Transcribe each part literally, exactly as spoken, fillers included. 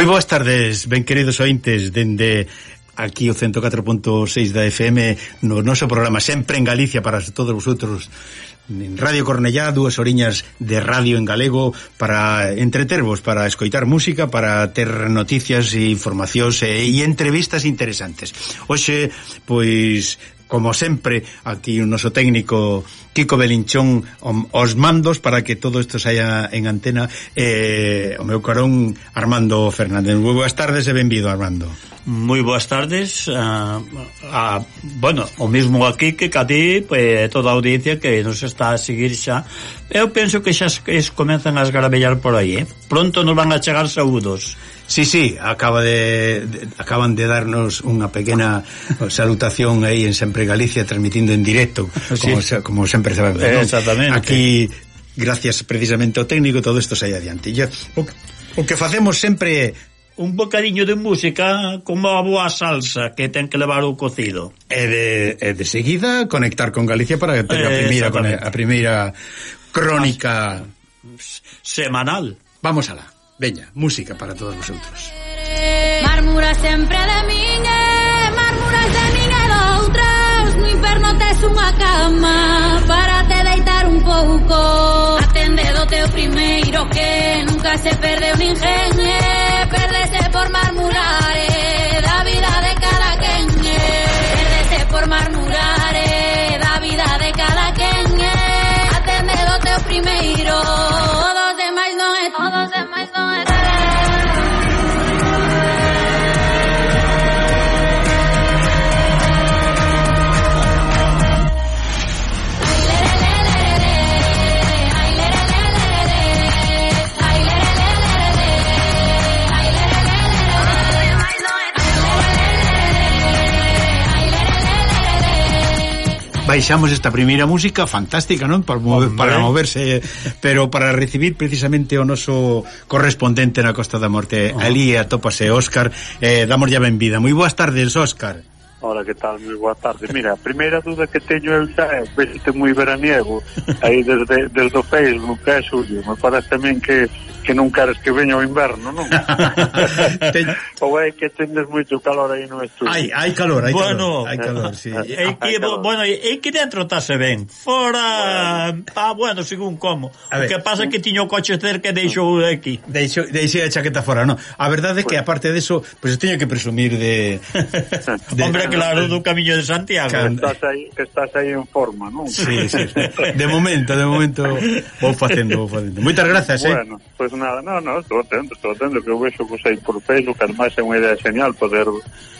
Moi boas tardes, ben queridos ointes, dende aquí o ciento catro punto seis da F M no noso programa Sempre en Galicia para todos vosotros en Radio Cornellá, dúas oriñas de radio en galego para entretervos, para escoitar música, para ter noticias e informacións e, e entrevistas interesantes. Hoxe, pois, como sempre, aquí o noso técnico Kiko Belinchón os mandos para que todo isto saia en antena, eh, o meu carón Armando Fernández. Moi boas tardes e benvido, Armando. Moi boas tardes a, a, bueno, o mesmo aquí que a ti, pues, toda a audiencia que nos está a seguir xa. Eu penso que xa que comenzan a esgarabellar por aí, eh? Pronto nos van a chegar saúdos. Sí, sí, acaba de, de acaban de darnos unha pequena salutación aí en Sempre Galicia, transmitindo en directo, sí, como, como sempre sabemos, ¿no? Exactamente. Aquí, gracias precisamente ao técnico, todo isto sai adiante. Ya, o, o que facemos sempre un bocadiño de música como a boa salsa que ten que levar o cocido. E de, e de seguida conectar con Galicia para ter a primeira, a primeira crónica semanal. Vamos alá. Veña, música para todos vosotros. Mármura sempre de min e mármuras de min e doutras. No inferno tes unha cama para te deitar un pouco. Atende do teu primeiro que nunca se perdeu ninguén, perdese por marmurar da vida de cada quen, perdese por marmurar da vida de cada quen. Atende do teu primeiro, dos demais non é, todos demais non é. Baixamos esta primeira música fantástica, non? Para, mover, para moverse, pero para recibir precisamente o noso correspondente na Costa da Morte. Oh. Ali atópase Óscar, eh, damos ya benvida. Moi boas tardes, Óscar. Hola, que tal? Moi boa tarde. Mira, a primeira duda que teño eu xa é veste moi veraniego aí desde, desde o Facebook, que é Xulio. Me parece tamén que, que non queres que veña o inverno, non? Ten... Ou é que tendes moito calor aí no estudio? Hai, hai calor, hai bueno, calor, hai calor, sí. É que, bueno, é que dentro tase ben. Fora, bueno. Ah, bueno, según como. O que pasa é que tiño o coche cerca e deixou aquí. Deixou, deixei a chaqueta fora, non? A verdade é que, aparte deso, pois pues, teño que presumir de... de... Hombre, claro, do Camiño de Santiago. Que estás aí, que estás aí en forma, non? Sí, sí. De momento, de momento vou facendo, vou facendo. Moitas grazas, eh. Bueno, pois pues nada, no, no, estou atento, estou atento, que eu vexo que aí por Facebook, ademais é unha idea genial poder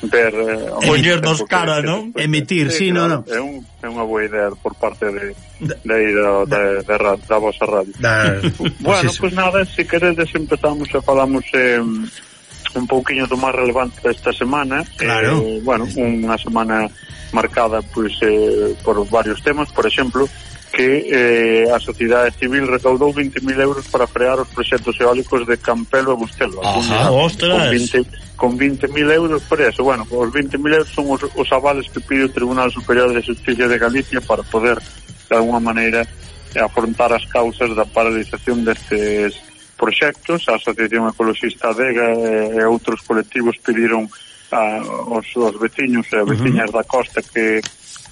ver... Eh, poñernos cara, non? Emitir, sí, sí, claro, no, no. É, un, é unha boa idea por parte de, de aí, da, de, de, de, da vosa radio. Da, bueno, pois pues nada, se queredes empezamos e falamos... Eh, un pouquiño do máis relevante desta semana. Claro. Eh, bueno, unha semana marcada pois eh, por varios temas, por exemplo, que eh, a sociedade civil recaudou vinte mil euros para frear os proxectos eólicos de Campelo e Bustelo. Ajá, ostras. Con vinte, con vinte mil euros por eso. Bueno, os vinte mil euros son os, os avales que pide o Tribunal Superior de Justicia de Galicia para poder, de alguma maneira, afrontar as causas da paralización destes proxectos. A Asociación Ecologista Adega e outros colectivos pediron a, os, os veciños e veciñas uh-huh. da costa que,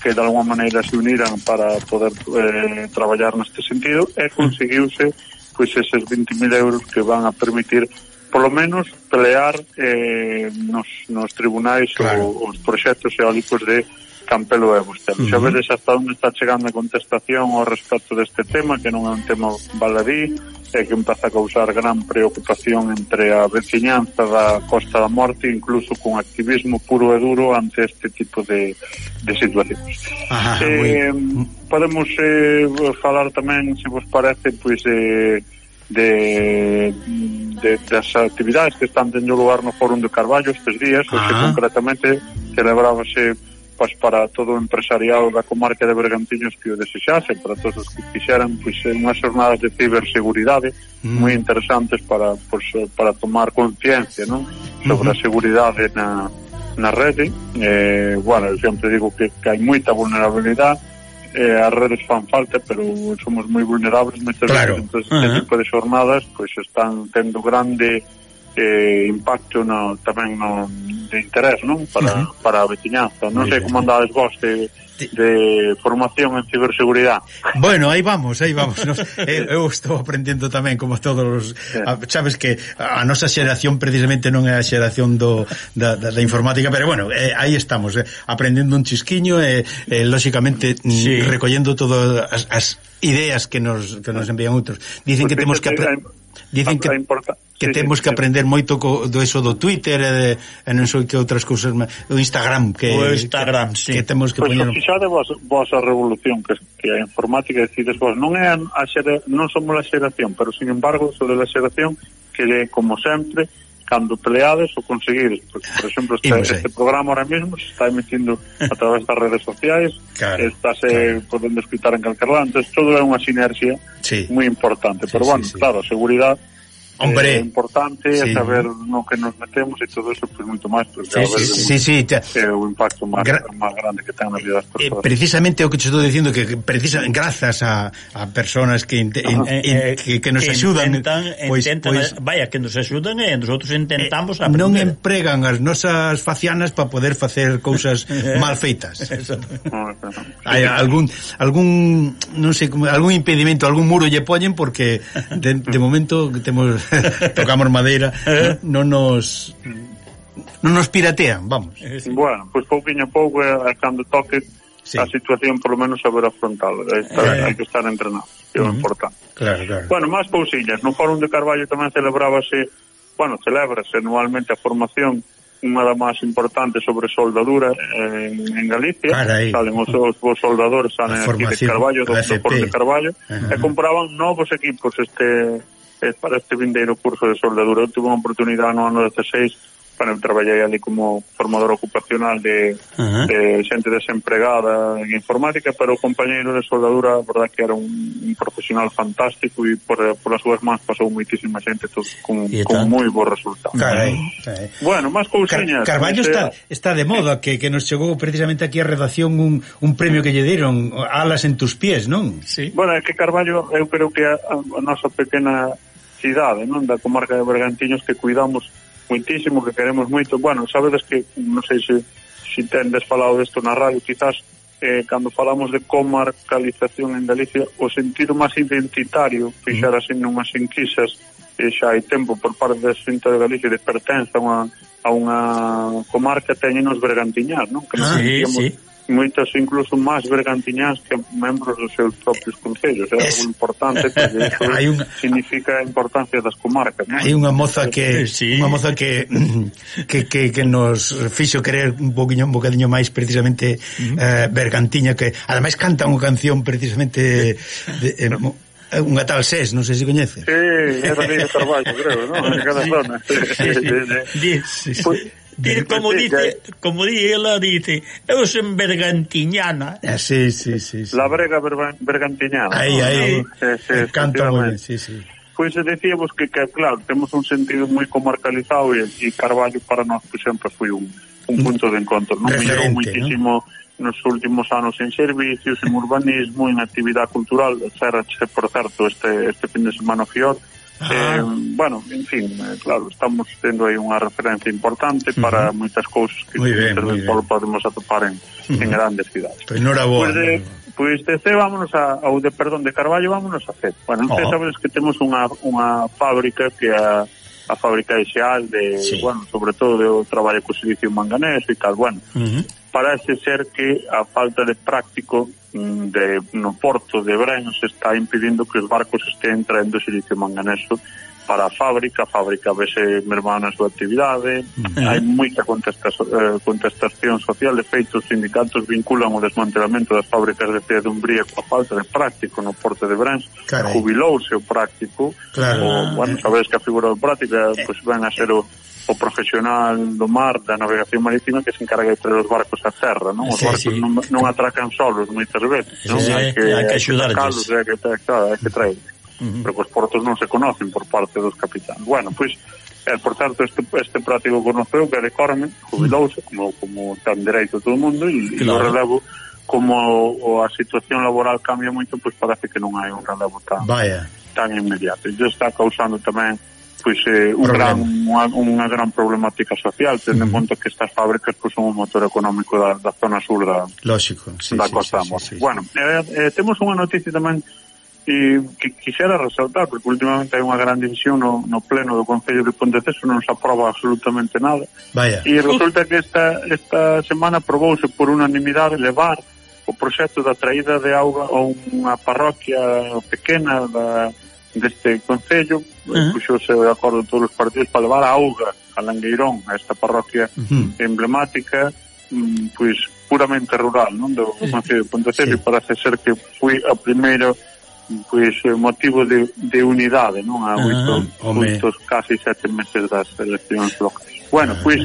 que de alguma maneira se uniran para poder eh, traballar neste sentido e conseguiuse pois eses vinte mil euros que van a permitir polo menos pelear eh, nos, nos tribunais claro. o, os proxectos eólicos de Campelo e Bustelo. Uh-huh. Xa vedes hasta onde está chegando a contestación ao respecto deste tema, que non é un tema baladí, e que empeza a causar gran preocupación entre a veciñanza da Costa da Morte, incluso con activismo puro e duro ante este tipo de, de situacións. Ajá, eh, podemos eh, falar tamén, se vos parece, pois eh, de, de das actividades que están tendo lugar no Fórum de Carballo estes días, o que concretamente celebrábase pois para todo o empresariado da comarca de Bergantiños que o desexase, para todos os que quixeran, pois unhas jornadas de ciberseguridade mm. moi interesantes para pois, para tomar conciencia, non? Sobre mm-hmm. a seguridade na, na rede. Eh, bueno, eu sempre digo que, que hai moita vulnerabilidade, eh, as redes fan falta, pero somos moi vulnerables moitas claro. veces, entón uh-huh. este tipo de jornadas pois están tendo grande eh, impacto no, tamén no, de interés, non? Para, uh-huh. para a veciñanza. Non sei como andades vos de, de formación en ciberseguridade. Bueno, aí vamos, aí vamos. Nos, eu, eu estou aprendendo tamén, como todos os... Sí. A, sabes que a nosa xeración precisamente non é a xeración do, da, da, da informática, pero bueno, eh, aí estamos, eh, aprendendo un chisquiño e, eh, lóxicamente, sí. recollendo todas as, as ideas que nos, que nos envían outros. Dicen pues que temos que... Apre- Dicen que, que sí, temos sí, que aprender sí. moito co, do eso do Twitter e, de, e non sei que outras cousas, o Instagram que, o Instagram, que, sí. que temos que pues poñer. Fixade vos, vos a revolución que, que a informática, decides vos, non é a, a xera, non somos a xeración, pero sin embargo sobre a xeración que como sempre cando peleades ou conseguires, porque, por exemplo, este, este programa ahora mesmo se está emitindo a través das redes sociais, claro, estáse claro. podendo escutar en calquer lado, entonces todo é unha sinerxia sí. moi importante, sí, pero sí, bueno, sí. claro, a seguridade Hombre, é importante sí. saber no que nos metemos e todo eso, pues moito máis, pues, sí, sí, sí, sí, sí. É o impacto máis Gra- grande que ten na vida das persoas. Eh, precisamente o que te estou dicindo, que precisamente grazas a, a personas que, inte, in, in, que, que nos que axudan, intentan, pues, intentan, pues, vaya, que nos axudan e nosotros intentamos eh, aprender. Non empregan as nosas facianas para poder facer cousas mal feitas. Hai algún algún non sei, algún impedimento, algún muro lle poñen porque de, de momento temos tocamos madeira, non nos non nos piratean, vamos. Bueno, pois pues, pouquinho a pouco a cando toque sí. a situación por lo menos saber afrontalo, hai eh. que estar entrenado, que é uh-huh. importante. Claro, claro. Bueno, máis cousillas, no Fórum de Carballo tamén celebrábase, bueno, celébrase anualmente a formación, unha da máis importante sobre soldadura en, en Galicia. Carai. Salen os, os, os soldadores salen aquí de Carballo, do, do Fórum de Carballo, uh-huh. e compraban novos equipos este para este vindeiro curso de soldadura. Eu tuve unha oportunidade no ano dezasseis, bueno, traballei ali como formador ocupacional de, uh-huh. de xente desempregada en informática, pero o compañeiro de soldadura, a verdad que era un, un profesional fantástico e por, por as súas mans pasou moitísima xente todo, con, con moi bo resultado. Carai, carai. Bueno, máis cousiñas. Car- Carballo está, está de moda, que, que nos chegou precisamente aquí a redacción un, un premio que lle deron, Alas en tus pies, non? Sí. Bueno, é que Carballo, eu creo que a, a nosa pequena cidade, non, da comarca de Bergantiños, que cuidamos moitísimo, que queremos moito. Bueno, sabedes que, non sei se, se tendes falado desto na radio, quizás eh, cando falamos de comarcalización en Galicia, o sentido máis identitario, fixar así nunhas enquisas, eh, xa hai tempo por parte da Xunta de Galicia de pertenza a unha, a unha comarca, teñen os bergantiñás, non? Que nos ah, sí, sí. moitos incluso máis bergantiñás que membros dos seus propios concellos. É es... algo importante, porque eso un... significa a importancia das comarcas, ¿no? Hai unha moza que sí. unha moza que, que que que nos fixo querer un poquinho un bocadiño máis precisamente uh-huh. eh, bergantiña, que ademais canta unha canción precisamente de, eh, unha tal Sés, non sei se coñece. Sí, é da de Carballo, creo, non? En cada zona. Sí, sí, sí, sí. Pues, Dir, como dice, como dice ela dice, eu son bergantiñana. Ah, sí, sí, sí, sí. La brega bergantiñana. Aí, ¿no? aí. Sí, sí, canta moi ben, sí, sí. Pois pues, decíamos que, que, claro, temos un sentido moi comarcalizado e, e Carballo para nós, por exemplo, foi un, un punto de encontro. Non mellorou moitísimo, ¿no? Nos últimos anos en servicios, en urbanismo, en actividade cultural, etcétera. Por certo, este, este fin de semana Fior. Ah. Eh, bueno, en fin, eh, claro, estamos tendo aí unha referencia importante uh-huh. para moitas cousas que por podemos atopar en, uh-huh. en grandes cidades. Pois non era boa. Pois de, pois de C, vámonos a, ao de, perdón, de Carballo, vámonos a C. Bueno, non oh. sabes que temos unha, unha fábrica que a, a fábrica de Xeal, de, sí. bueno, sobre todo do traballo co silicio manganés e tal, bueno, uh-huh. parece ser que a falta de práctico de, no porto de Bren se está impidindo que os barcos estén traendo silicio manganeso para a fábrica, a fábrica vese mermada na súa actividade, uh-huh. hai moita contestación, eh, contestación social, de feito os sindicatos vinculan o desmantelamento das fábricas de Cea de Umbría coa falta de práctico no porto de Brens, jubilouse o práctico, claro. o, bueno, sabedes que a figura do práctico pois pues, ven a ser o o profesional do mar, da navegación marítima, que se encarga de traer os barcos a terra, non? Os sí, barcos sí. non, non atracan solos moitas veces, non? Sí, hai que, hai que axudarles. Hai que, claro, hai que traer. Uh-huh. Pero os portos non se conocen por parte dos capitáns. Bueno, pois, pues, eh, por tanto, este, este práctico conoceu, que é de Corme, jubilouse, como, como tan dereito todo o mundo, e claro. o relevo, como o, a situación laboral cambia moito, pois pues parece que non hai un relevo tan, Vaya. tan inmediato. E isto está causando tamén pois eh, un gran, unha, unha gran problemática social, tendo uh -huh. en conta que estas fábricas pois, son un motor económico da, da zona sur da, lógico, sí, da sí, Costa sí, da Morte. sí, sí, sí. Bueno, eh, eh, temos unha noticia tamén eh, que quixera resaltar, porque últimamente hai unha gran división no, no pleno do Concello de Ponteceso, non se aproba absolutamente nada. Vaya. E resulta que esta, esta semana aprobouse por unanimidade levar o proxecto da traída de auga a unha parroquia pequena da, deste concello, uh -huh. puxose de acordo todos os partidos para levar a auga a Langueirón, a esta parroquia uh -huh. emblemática, pois puramente rural, non, do concello de Ponteceso, sí. E parece ser que foi a primeiro pois motivo de, de unidade, non, a oito, uh -huh. oito casi sete meses das eleccións locais. Bueno, uh -huh. pois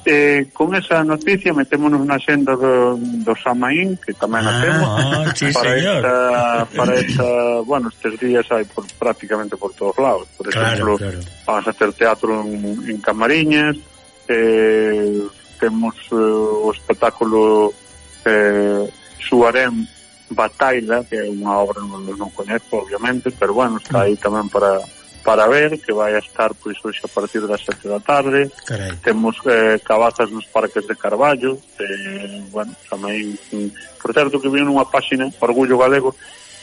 Eh, con esa noticia metémonos na xenda do, do Samaín, que tamén a temos, ah, sí, para, esta, para esta, bueno, estes días hai por, prácticamente por todos lados. Por exemplo, claro, claro. Vamos a hacer teatro en, en Camariñas, eh, temos eh, o espectáculo eh, Suarem Bataila, que é unha obra non, non coñezo, obviamente, pero bueno, está aí tamén para para ver, que vai a estar pois hoxe a partir das sete da tarde. Carai. Temos eh, cabazas nos parques de Carballo, eh, bueno, tamén, por certo que vi nunha páxina Orgullo Galego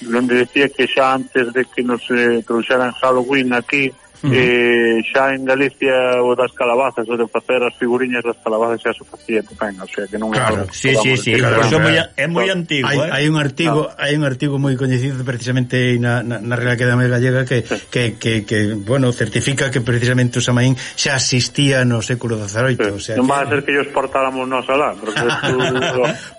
onde decía que xa antes de que nos eh, trouxeran Halloween aquí, uh -huh. eh, xa en Galicia o das calabazas, o de facer as figuriñas das calabazas xa se facía tamén, o sea que non é claro, algo. Sí, sí, sí, claro, eso claro. É moi antigo, hai, eh? hai un artigo, no. hai un artigo moi coñecido precisamente na, na, na Real Academia Gallega que, sí. que, que, que, bueno, certifica que precisamente o Samaín xa existía no século dezaoito, sí. O sea, non que... vai a ser que ellos portáramos nós alá, porque tú,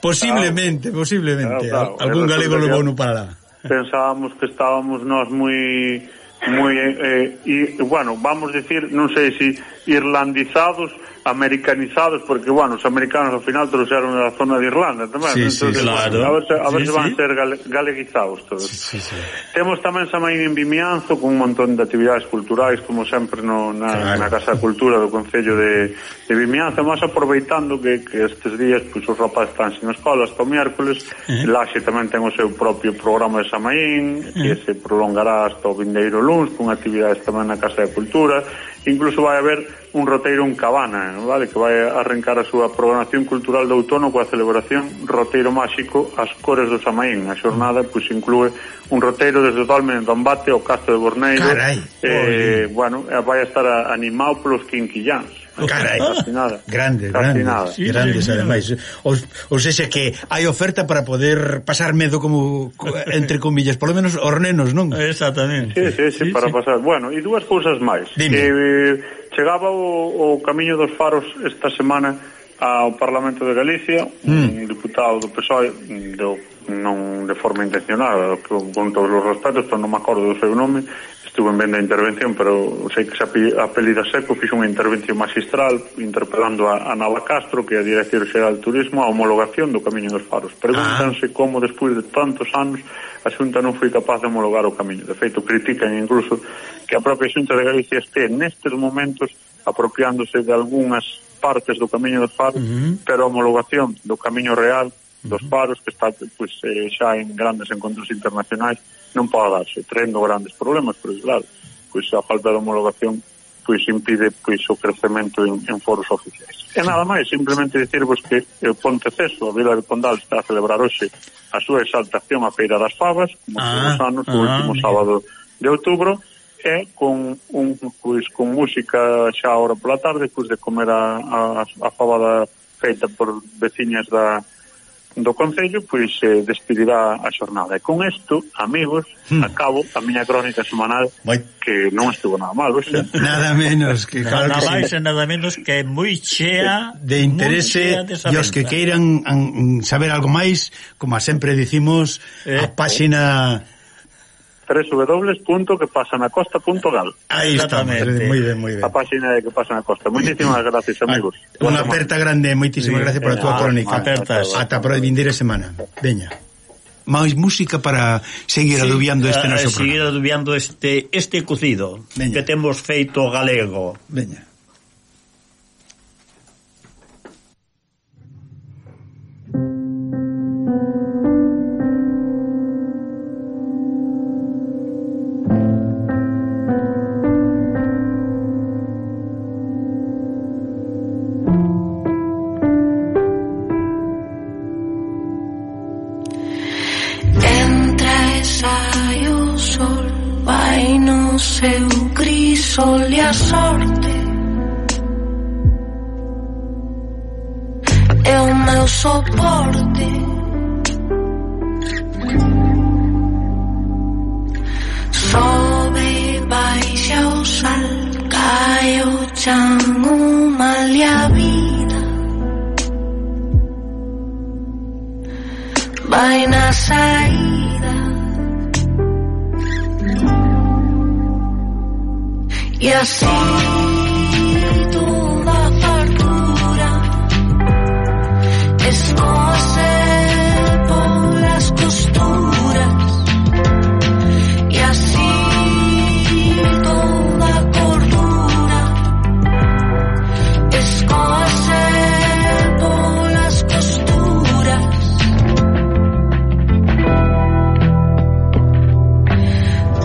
posiblemente, claro. posiblemente, claro, claro. algún galego levou no para lá. Pensábamos que estábamos nós moi moi eh, e, bueno, vamos decir, non sei se irlandizados, americanizados, porque, bueno, os americanos ao final trouxeron da zona de Irlanda tamén, sí, entonces, sí, claro. a ver se, a ver sí, se van sí. ser gale, galeguizados todos. Sí, sí, sí. Temos tamén Samaín en Vimianzo con un montón de actividades culturais, como sempre no, na, claro. na Casa de Cultura do Concello de, de Vimianzo, mas aproveitando que, que estes días pues, os rapazes están sin escola hasta o miércoles, uh -huh. Laxe tamén ten o seu propio programa de Samaín, uh -huh. que se prolongará hasta o vindeiro luns, con actividades tamén na Casa de Cultura. Incluso vai haber un roteiro en Cabana, vale, que vai arrancar a súa programación cultural de outono coa celebración Roteiro Máxico As Cores do Samaín. A xornada pois inclúe un roteiro desde Dolmen do Ambate ao Castro de Borneiro. Carai, eh, bueno, vai a estar animado polos quinquilláns. Carai, casi nada. Grandes, casi grandes, nada. Sí, grandes sí, ademais. Ou, ou seja que hai oferta para poder pasar medo como entre comillas, polo menos os nenos, non? Exactamente. Sí, sí, sí, sí para sí. pasar. Bueno, e dúas cousas máis. Dime. Eh, chegaba o, o Camiño dos Faros esta semana ao Parlamento de Galicia, mm. un diputado do P S O E, do, non de forma intencionada, con, con todos os respetos, pero non me acordo do seu nome, estuve en venda a intervención, pero sei que se apelida Seco, fixo unha intervención magistral interpelando a, a Nava Castro, que é a Dirección Xeral de Turismo, a homologación do Camiño dos Faros. Pregúntanse ah. como despois de tantos anos a Xunta non foi capaz de homologar o camiño. De feito, critican incluso que a propia Xunta de Galicia este nestes momentos apropiándose de algunhas partes do Camiño dos Faros, uh -huh. pero a homologación do Camiño Real dos Faros, que está pues, eh, xa en grandes encontros internacionais, non pode darse, traendo grandes problemas, porque claro, pois a falta de homologación pois impide pois o crecemento en, en foros oficiais. E nada máis, simplemente dicirvos que o Ponteceso, a Vila de Pondal, está a celebrar hoxe a súa exaltación a Feira das Favas, como ah, todos os anos, o ah, último mira. sábado de outubro, e con un pois con música xa ahora pola tarde, pois de comer a, a, a fabada feita por veciñas da do Concello, pois se eh, despedirá a xornada. E con isto, amigos, hmm. acabo a miña crónica semanal, Vai. que non estuvo nada mal, oxe. Nada menos que claro nada que máis sí. e nada menos que moi chea de interese e os que queiran an, saber algo máis, como sempre dicimos, eh, a páxina eh. doble u doble u doble u punto que pasa na costa punto gal. Aí estamos, moi ben, moi ben. A páxina de Que Pasa na Costa. Moitísimas gracias, amigos. Unha aperta grande, moitísimas sí. gracias por a túa crónica. Apertas. Ata para a vindeira semana. Veña. máis música para seguir sí, adubiando este noso programa. Seguir adubiando este este cocido Veña. que temos feito galego. Veña. seu crisol e a sorte é o meu soporte. Sobe, baixa o sal, cae o chan, o mal e a vida vai na saída. E assim toda a fartura escoce polas costuras. E assim toda a cordura escoce polas costuras.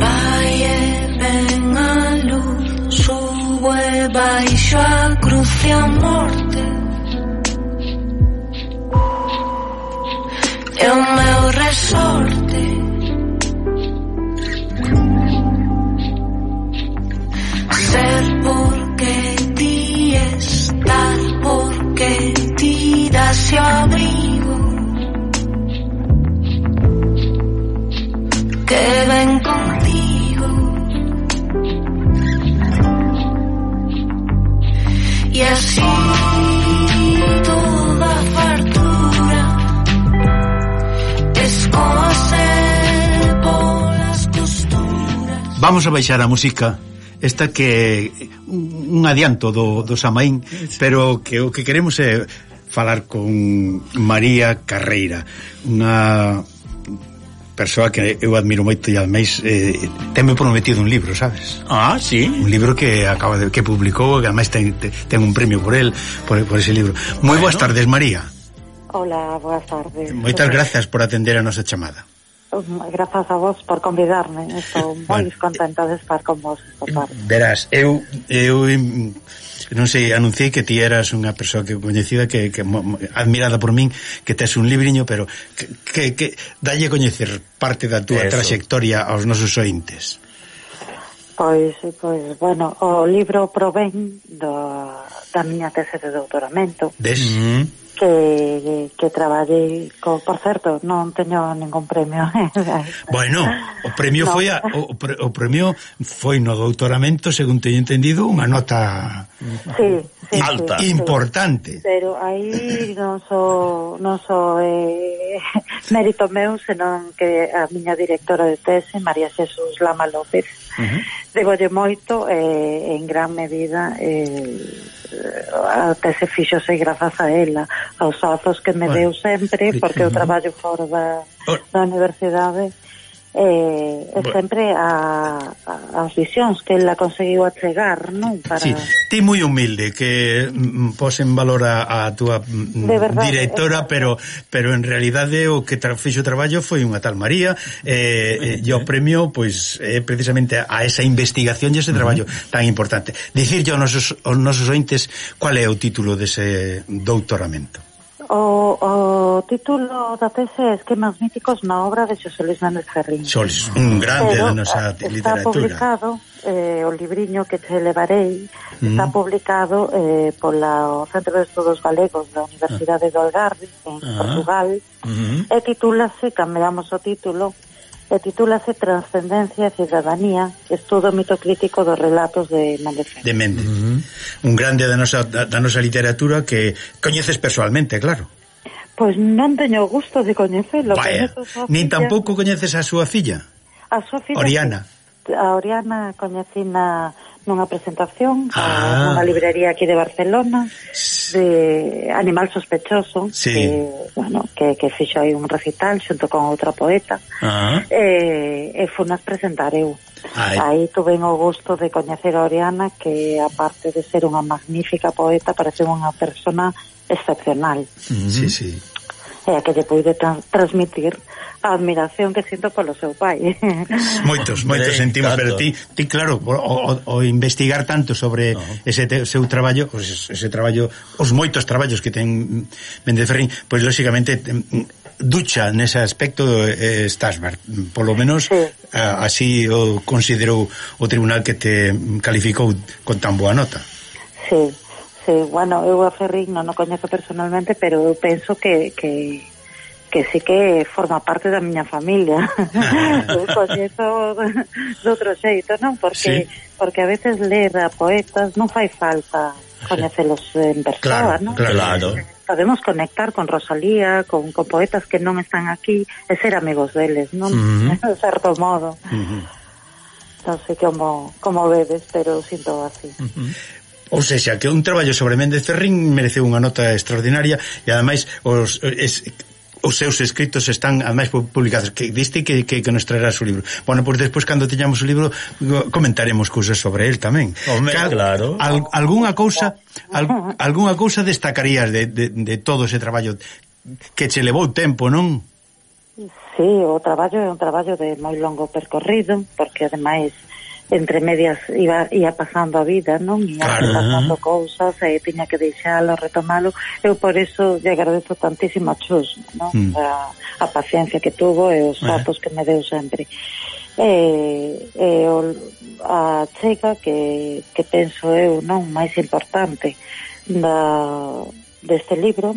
Vai e ven a luz, subo e baixo a cruz e a morte. É o meu resorte. Ser porque ti, estar porque ti, das o abrigo que ven contigo. E así toda a fartura escoce polas costuras. Vamos a baixar a música esta que un adianto do, do Samaín, pero que o que queremos é falar con María Carreira, unha persoa que eu admiro moito e ademais eh, tenme prometido un libro, sabes? Ah, sí. Un libro que acaba de que publicou, que ademais ten, ten un premio por el, por, por ese libro. Moi boas bueno. tardes, María. Hola, boas tardes. Moitas grazas por atender a nosa chamada. Grazas a vos por convidarme. Estou moi bueno, contenta de estar con vos esta tarde. Verás, eu eu non sei, anunciei que ti eras unha persoa que coñecida que, que admirada por min, que tes un libriño, pero que, que, que dalle a coñecer parte da túa Eso. Trayectoria aos nosos ointes. Pois, pois, bueno, o libro provén do, da miña tese de doutoramento. Des? Mm-hmm. Que, que traballei co, por certo, non teño ningún premio. Bueno, o premio no. foi a, o, o premio foi no doutoramento, según teño entendido, unha nota sí, sí, alta, sí, importante. Sí. Pero aí non so non so eh, mérito meu, senón que a miña directora de tese, María Jesús Lama López, uh-huh. debolle moito eh, en gran medida eh, a tese fixose grazas a ela, aos azos que me bueno, deu sempre, porque eu traballo fora da, da universidade, eh, bueno. sempre a, a, as visións que ela conseguiu achegar, non? Para... Sí, ti moi humilde, que mm, pos en valor a, a túa mm, verdad, directora, pero pero en realidade o que tra fixo o traballo foi unha tal María, eh, eh, e o premio, pois, é eh, precisamente a esa investigación e ese traballo uh-huh. tan importante. Dicirlle aos nosos, aos nosos ointes cual é o título dese doutoramento. O, o título da tese é Esquemas míticos na obra de Xosé Luis Méndez Ferrín. Solis, un grande Pero, da nosa está literatura. Está publicado, eh, o libriño que te levarei, mm. está publicado eh, pola Centro de Estudos Galegos da Universidade ah. do Algarve, en ah. Portugal, mm-hmm. e titúlase, cambiamos o título, e titúlase Transcendencia e Cidadanía, estudo mitocrítico dos relatos de Méndez Ferrín. De Méndez. Uh-huh. Un grande da nosa, da, da nosa literatura que coñeces persoalmente, claro. Pois non teño o gusto de coñecelo. Vaya, nin tampouco coñeces a súa filla? A súa filla, Oriana. Sí. A Oriana coñecina nunha presentación ah. nunha librería aquí de Barcelona de Animal Sospechoso, sí. que, bueno, que, que fixo aí un recital xunto con outra poeta, ah. e, e funas presentar eu. Ai. Aí tuve o gusto de coñecer a Oriana, que aparte de ser unha magnífica poeta, parece unha persona excepcional. Mm-hmm. Sí, sí. E a que lle puide tra transmitir a admiración que sinto polo seu pai. Moitos, moitos sentimos, pero ti, ti claro, o, o, o investigar tanto sobre no. ese te, seu traballo, pues ese traballo, os moitos traballos que ten Méndez Ferrín, pois pues, lógicamente ducha nese aspecto eh, estás, polo menos sí. eh, así o considerou o tribunal que te calificou con tan boa nota. Sí, sí, bueno, eu a Ferrín non o coñezo personalmente, pero eu penso que que que sí que forma parte da miña familia. Eu coñezo de outro xeito, non? Porque, sí. porque a veces ler a poetas non fai falta coñecelos en persona, claro, non? Claro, podemos conectar con Rosalía, con, con poetas que non están aquí, e ser amigos deles, non? Uh -huh. De certo modo. Uh -huh. Non sei como, como vedes, pero sinto así. Uh -huh. Ou seja, que un traballo sobre Méndez Ferrín mereceu unha nota extraordinaria e ademais os... Es, os seus escritos están ademais publicados, que diste que, que, que nos traerás o libro. Bueno, pois pues despois cando teñamos o libro comentaremos cousas sobre el tamén. Home, Cal, claro. Al, algunha cousa al, algunha cousa destacarías de, de, de todo ese traballo que che levou tempo, non? Sí, o traballo é un traballo de moi longo percorrido, porque ademais entre medias iba, ia pasando a vida, non? Ia claro. pasando cousas e tiña que deixalo, retomalo. Eu por eso lle agradezo tantísimo a Chus, non? Mm. A, a paciencia que tuvo e os datos eh. que me deu sempre. E, e o, a chega que, que penso eu, non, máis importante da, deste libro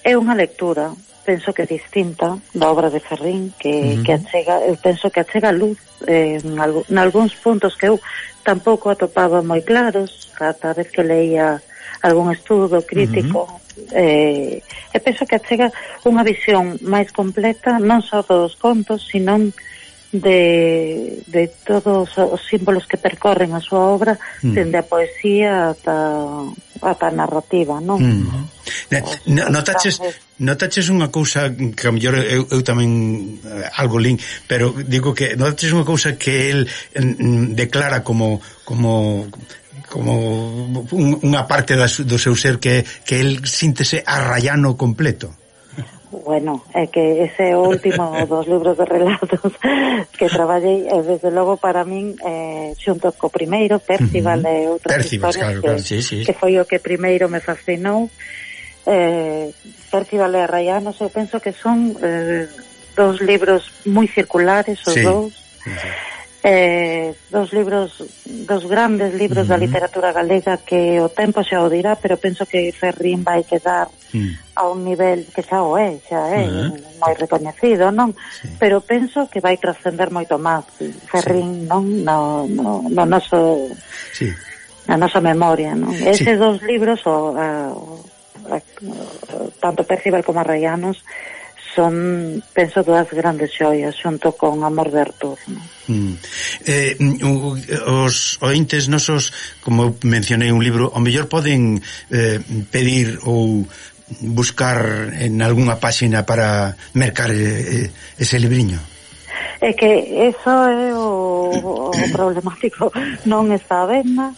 é unha lectura, penso que distinta da obra de Ferrín, que, uh -huh. que achega, eu penso que achega luz eh, en, alg en algúns puntos que eu tampouco atopaba moi claros cada vez que leía algún estudo crítico. Uh -huh. eh, e penso que achega unha visión máis completa non só dos contos, sino de, de todos os símbolos que percorren a súa obra, mm. dende a poesía ata, ata a narrativa, non? Mm. No, notaches, notaches unha cousa que a mellor eu, eu tamén eh, algo lin, pero digo que notaches unha cousa que el mm, declara como como como un, unha parte da, do seu ser que, que el síntese arrayano completo. Bueno, é que ese é o último dos libros de relatos que traballei, e desde logo para min eh, xunto co primeiro Percival uh -huh. e outras Percival, historias claro, que, claro. Sí, sí. que foi o que primeiro me fascinou. eh, Percival e Arrayanos eu penso que son eh, dos libros moi circulares os sí. dous uh -huh. eh, dos libros, dos grandes libros uh -huh. da literatura galega que o tempo xa o dirá, pero penso que Ferrín vai quedar mm. a un nivel que xa o é, xa é uh -huh. moi recoñecido, non? Sí. Pero penso que vai trascender moito máis Ferrín, sí. non? No, no, no noso sí. na nosa memoria, non? Eses sí. dos libros o, a, a, a, tanto Percival como Arrayanos son, penso, dúas grandes xoias xunto con Amor de Artur, non? Mm. Eh, os ointes nosos, como mencionei un libro, ao mellor poden eh, pedir ou buscar en algunha páxina para mercar eh, ese libriño. É que eso é o, o problemático, non está a venda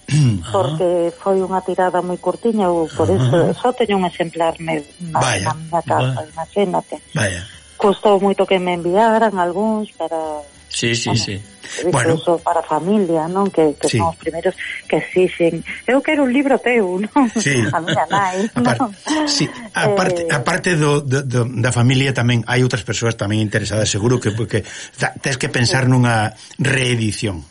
porque foi unha tirada moi curtiña, ou por eso só teño un exemplar na, na miña casa, imagínate. Vaya. Custou moito que me enviaran algúns para... Sí, sí, bueno, sí. Incluso bueno. para a familia, non? Que, que sí. son os primeiros que exixen. Eu quero un libro teu, non? Sí. A miña nai, non? Sí. Aparte, eh... aparte do, do, do, da familia tamén hai outras persoas tamén interesadas, seguro que porque tens que pensar sí. nunha reedición.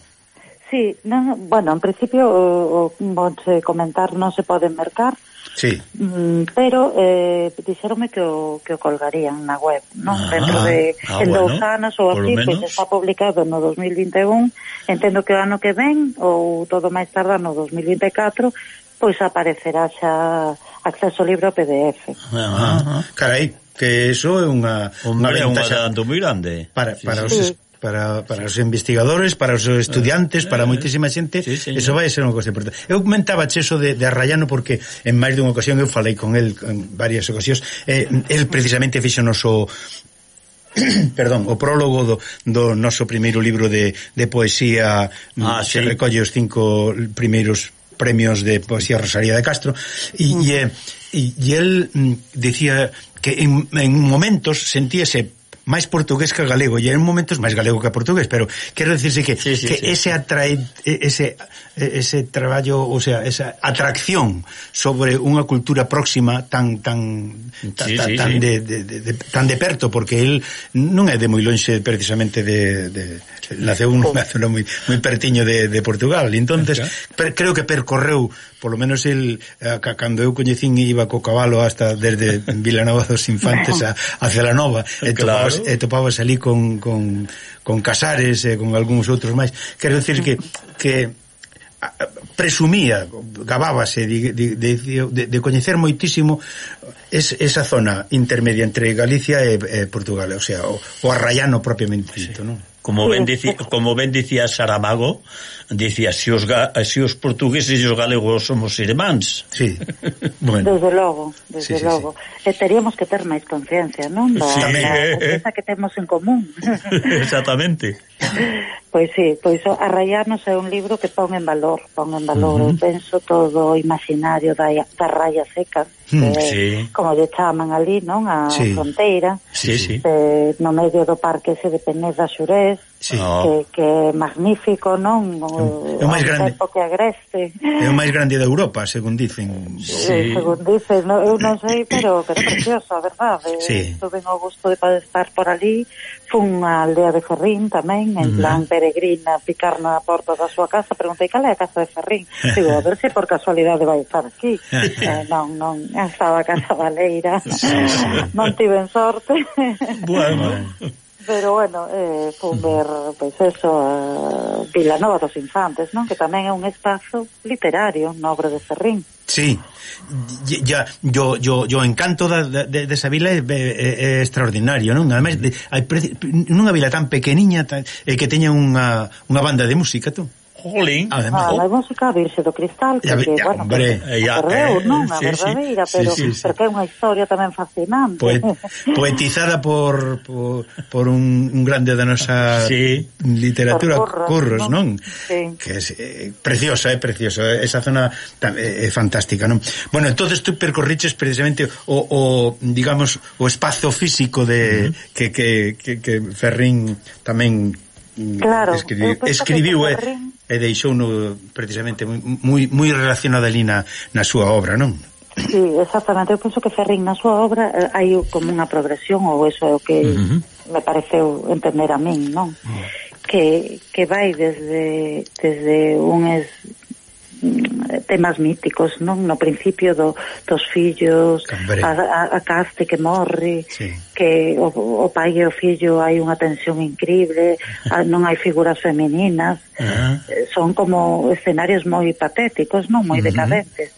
Sí, non, bueno, en principio o, o, vouche comentar, non se pode mercar. Sí. Mm, pero eh, dixeronme que o, que o colgarían na web, non? Ah, dentro de ah, en bueno, dous anos ou así, pois pues está publicado no dos mil vinte e un, entendo que o ano que ven ou todo máis tarda no dos mil vinte e catro, pois pues aparecerá xa acceso libre ao P D F. Ah, ah, carai, que eso é unha unha adelanto moi grande para, para sí. os para, para os investigadores, para os estudiantes, para moitísima xente, sí, eso vai ser unha cosa importante. Eu comentaba eso de, de Arrayano porque en máis dunha ocasión eu falei con el en varias ocasións, eh, el precisamente fixo noso perdón, o prólogo do, do noso primeiro libro de, de poesía ah, que sí. recolle os cinco primeiros premios de poesía Rosalía de Castro e, mm. e, e, e el mm, decía que en, en momentos sentíase máis portugués que galego, e en momentos máis galego que portugués, pero quero dicirse que, sí, sí, que sí. ese atrae, ese ese traballo, o sea, esa atracción sobre unha cultura próxima tan tan tan, sí, tan, sí, tan sí. De, de, de, de tan de perto, porque el non é de moi lonxe precisamente de, de naceu nunha zona moi moi pertiño de, de Portugal, entonces per, creo que percorreu, polo menos el cando eu coñecín iba co cabalo hasta desde Vilanova dos Infantes a, a Celanova, e claro. topabas, e topabas ali con, con, con Casares e con algúns outros máis. Quero dicir que que presumía, gabábase de, de, de, de coñecer moitísimo es, esa zona intermedia entre Galicia e, e Portugal, o sea, o, o arraiano propiamente dito, non? Como ben dicía, como ben dicía Saramago, dicía, si os, ga, si os portugueses e os galegos somos irmáns. Sí, bueno. Desde logo, desde sí, sí, logo. Sí. E teríamos que ter máis conciencia, non? Da, sí. da conciencia que temos en común. Exactamente. Pois sí, pois o Arraianos é un libro que pon en valor, pon en valor, uh -huh. eu penso todo o imaginario da, da raya seca, mm, que, sí. como lle chaman ali, non? A sí. fronteira, sí, sí. Eh, no medio do parque ese de Peneda Xurés, sí. que, que é magnífico, non? O, é o máis grande que agreste. É o máis grande de Europa, según dicen. Sí. Según dicen, no, eu non sei, pero, pero é precioso, a verdade. Sí. Tuve o gusto de poder estar por ali. Fun a aldea de Ferrín tamén, en plan uh -huh. peregrina, picar na porta da súa casa. Preguntei cal é a casa de Ferrín. Digo, a ver se por casualidade vai estar aquí. eh, non, non, estaba a casa baleira. Sí, sí. Non tiven sorte. Bueno. Pero bueno, eh, fun ver, pois pues eso, uh, Vilanova dos Infantes, non? Que tamén é un espazo literario na obra de Ferrín. Sí, ya, yo, yo, yo encanto da, de, de esa vila é, é, é extraordinario, non? Ademais, de, hai, nunha vila tan pequeniña tan, eh, que teña unha, unha banda de música, tú. Jolín. Además, ah, a música Virxe do Cristal, que, ya, ya, bueno, hombre, que ya, perdeu, non? A sí, verdadeira, sí, pero, sí, sí, sí. Porque é unha historia tamén fascinante. Poet, poetizada por, por, por un, un grande da nosa sí. literatura, Curros, Curros, non? non? Sí. Que é eh, preciosa, é eh, preciosa. Esa zona é eh, fantástica, non? Bueno, entonces tú percorriches precisamente o, o digamos, o espazo físico de uh -huh. que, que, que, que Ferrín tamén claro, escribiu, escribiu e, e deixou no, precisamente moi, moi relacionado ali na, na súa obra, non? Sí, exactamente. Eu penso que Ferrín na súa obra eh, hai como unha progresión, ou eso é o que uh -huh. me pareceu entender a min, non? Uh -huh. Que, que vai desde desde un es, temas míticos, non? No principio do, dos fillos, a, a, a caste que morre, sí. que o, o pai e o fillo hai unha tensión increíble, a, non hai figuras femininas, uh -huh. son como escenarios moi patéticos, non? Moi uh -huh. decadentes.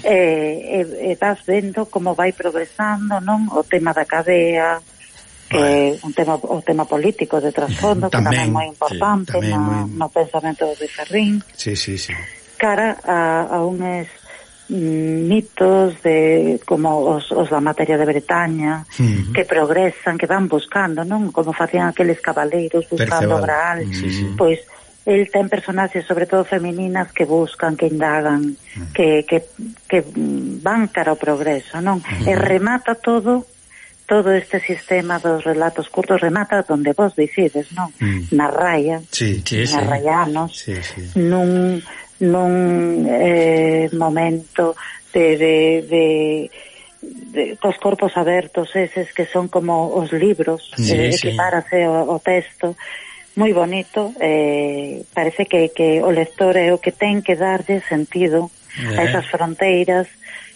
E, e, e vas vendo como vai progresando, non? O tema da cadea, que é un tema, o tema político de trasfondo, que tamén é moi importante sí, na, muy... no pensamento de Ferrín. Sí, sí, sí. Cara a, a unes mm, mitos de como os, os da materia de Bretaña, uh-huh. que progresan, que van buscando, non? Como facían aqueles cabaleiros buscando o Graal. Sí, sí. Pois el ten personaxes, sobre todo femininas, que buscan, que indagan, uh-huh. que, que, que van cara ao progreso, non? Uh-huh. E remata todo todo este sistema dos relatos curtos, remata donde vos dicides, non? Mm. Na raia, sí, sí, na sí. raianos, sí, sí. nun nun eh, momento de, de, de, de cos corpos abertos eses que son como os libros, sí, eh, sí. equipárase o, o texto, moi bonito, eh, parece que, que o lector é o que ten que darlle sentido eh. a esas fronteiras,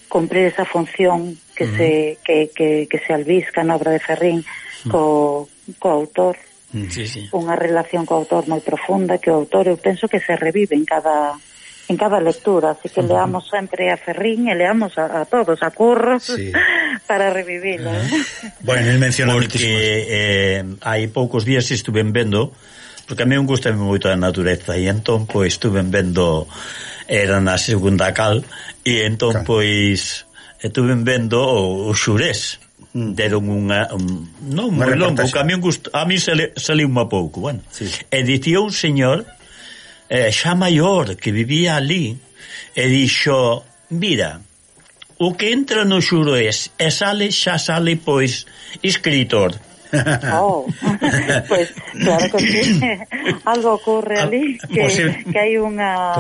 cumprir esa función que, uh -huh. se, que, que, que se albisca na obra de Ferrín co, co autor. Sí, sí. Unha relación co autor moi profunda, que o autor eu penso que se revive en cada en cada lectura, así que uh -huh. leamos sempre a Ferrín e leamos a, a todos, a Curros, sí. para revivilo. Uh -huh. Bueno, el menciona porque eh, hai poucos días estuve vendo, porque a mí me gusta moito a natureza, e entón pois estuve vendo, era na segunda cal, e entón claro. pois estuve vendo o, o Xurés. Deron unha un, non moi longo, que a mí, gust, a mí saliu unha pouco, bueno. Sí. E dicía un señor eh, xa maior que vivía ali e dixo, mira, o que entra no Xurés e sale, xa sale pois escritor, Oh, pues claro que sí. Algo ocurre ali que, que hai unha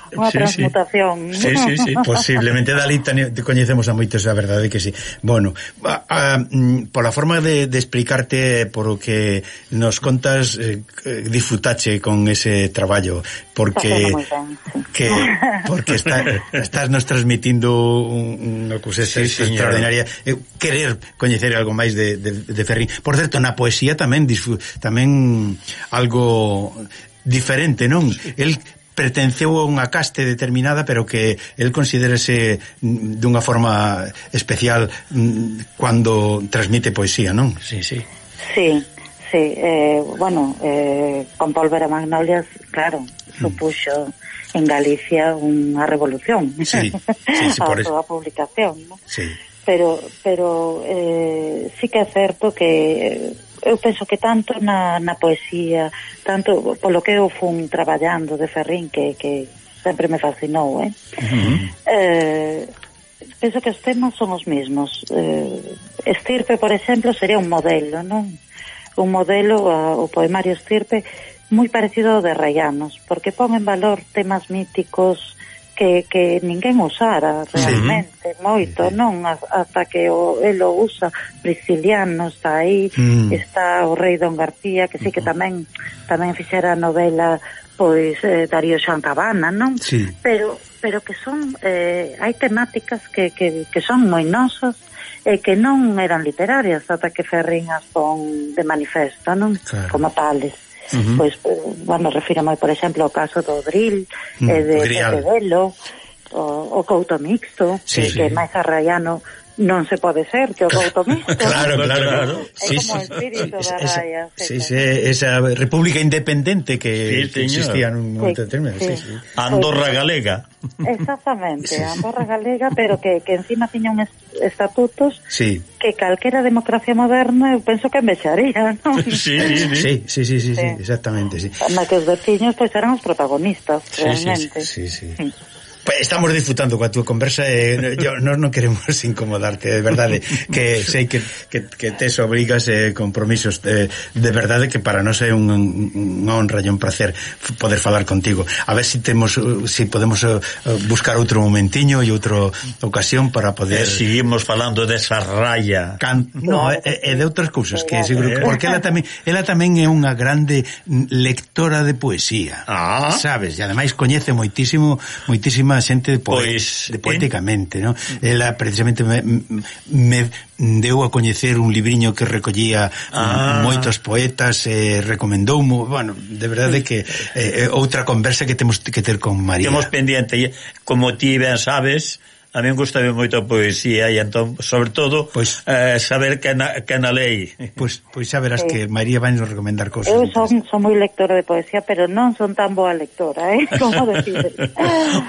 unha sí, transmutación. Sí, sí, sí, posiblemente dali te coñecemos a moitos, a verdade que sí. Bueno, a, a, pola forma de, de explicarte por o que nos contas, eh, disfrutache con ese traballo, porque ben, sí. que porque está, estás nos transmitindo unha cousa sí, extraordinaria. Eh, querer coñecer algo máis de, de, de Ferrín. Por certo, na poesía tamén tamén algo diferente, non? El pertenceu a unha caste determinada, pero que el considérase dunha forma especial cando transmite poesía, non? Sí, sí. Sí, sí. Eh, bueno, eh, con Pólvora Magnolias, claro, supuxo en Galicia unha revolución. Sí, sí, sí, por eso. A súa publicación, ¿no? Sí. Pero, pero eh, sí que é certo que eu penso que tanto na, na poesía, tanto polo que eu fun traballando de Ferrín, que, que sempre me fascinou, eh? Uh-huh. eh penso que os temas son os mesmos. Eh, Estirpe, por exemplo, sería un modelo, non? Un modelo, a, o poemario Estirpe, moi parecido ao de Rayanos, porque pon en valor temas míticos que, que ninguén usara realmente, sí. Moito, non? Hasta que o, el o usa. Prisciliano está aí, mm. está o rei Don García, que sí que tamén tamén fixera a novela, pois, eh, Darío Xoan Cabana, non? Sí. Pero pero que son, eh, hai temáticas que, que, que son moi nosas e que non eran literarias ata que Ferrín as pon de manifesto, non? Claro. Como tales. Uh-huh. Pois, bueno, refírame, por exemplo, ao caso do Drill, mm, eh, de Pepe Velo, o, o Couto Mixto, sí, que, sí. que máis arraiano non se pode ser que o Couto Mixto. Claro, claro, claro. É sí, como sí. El espírito da raya. Sí, sí, esa república independente que, sí, que existía nun momento determinado. Sí, sí. Andorra Galega. Exactamente, sí, sí. Andorra Galega, pero que, que encima tiña uns estatutos sí. que calquera democracia moderna eu penso que envexaría, non? Sí, sí, sí, sí, sí, sí, sí, sí, exactamente, sí. Na que os veciños pois eran os protagonistas, realmente. Sí, sí, sí. sí. sí. Estamos disfrutando coa túa conversa e yo, non, non queremos incomodarte, de verdade, que sei que, que, que tes obrigas e eh, compromisos de, de verdade que para nós é un, unha honra e un placer poder falar contigo. A ver se si temos si podemos uh, buscar outro momentiño e outra ocasión para poder... Eh, seguimos falando desa raya. Can... No, e, e de outras cousas que seguro que... Porque ela tamén, ela tamén é unha grande lectora de poesía. Ah. Sabes? E ademais coñece moitísimo, moitísima xente de, poe pois, de poéticamente, ¿no? Ela precisamente me, me deu a coñecer un libriño que recollía ah. moitos poetas, eh, recomendoumo, bueno, de verdade que eh, outra conversa que temos que ter con María. Temos pendiente, como ti ben sabes, a mí gustame moito a poesía e entón, sobre todo, pues, eh, saber que na, que na lei. Pois pues, pues xa verás sí. que María vai nos recomendar cosas. Eu son, son moi lectora de poesía, pero non son tan boa lectora, eh? Como decir.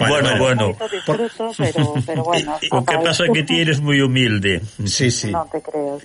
Bueno, bueno. Disfruto, pero, pero bueno. O que pasa é que ti eres moi humilde. Sí, sí. Non te creo.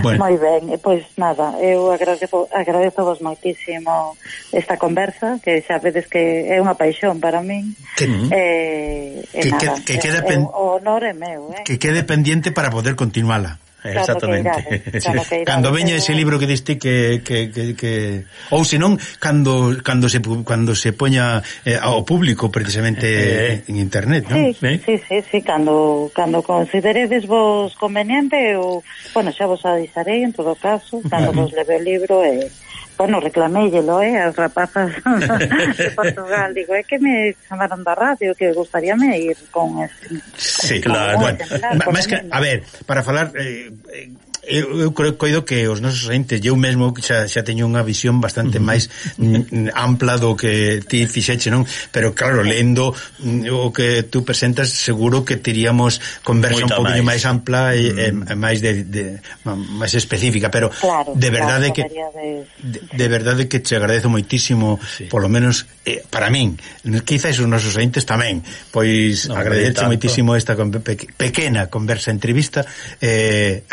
Bueno. Moi ben, pois pues, nada, eu agradezo, agradezo vos moitísimo esta conversa, que xa vedes que é unha paixón para min. Que, eh, que, nada, que, que quede pen... o honor é meu, eh? Que quede pendiente para poder continuala. Claro. Exactamente. Que irades, claro que irades, cando veña ese libro que diste que que que, que... ou senón cando cando se cando se poña eh, ao público precisamente eh, en internet, ¿no? Sí, ¿Eh? sí, sí, sí, cando cando consideredes vos conveniente ou bueno, xa vos avisarei en todo caso, cando vos leve o libro e eh, bueno, reclaméllelo, eh, as rapazas de Portugal, digo, é que me chamaron da radio, que gustaríame ir con este... Sí, claro, bueno, máis que, a ver, para falar... Eh, eh, eu, eu creo coido que os nosos entes, eu mesmo xa, xa teño unha visión bastante uh-huh. máis mm, ampla do que ti fixeche, non? Pero claro, lendo mm, o que tú presentas, seguro que teríamos conversa Moita un poquinho máis ampla e, uh-huh. e máis de, de máis específica, pero claro, de verdade claro, que de... De, de verdade que te agradezo moitísimo, sí. Polo menos eh, para min, quizás os nosos entes tamén, pois no, agradecerche moitísimo esta pe pequena conversa entrevista eh,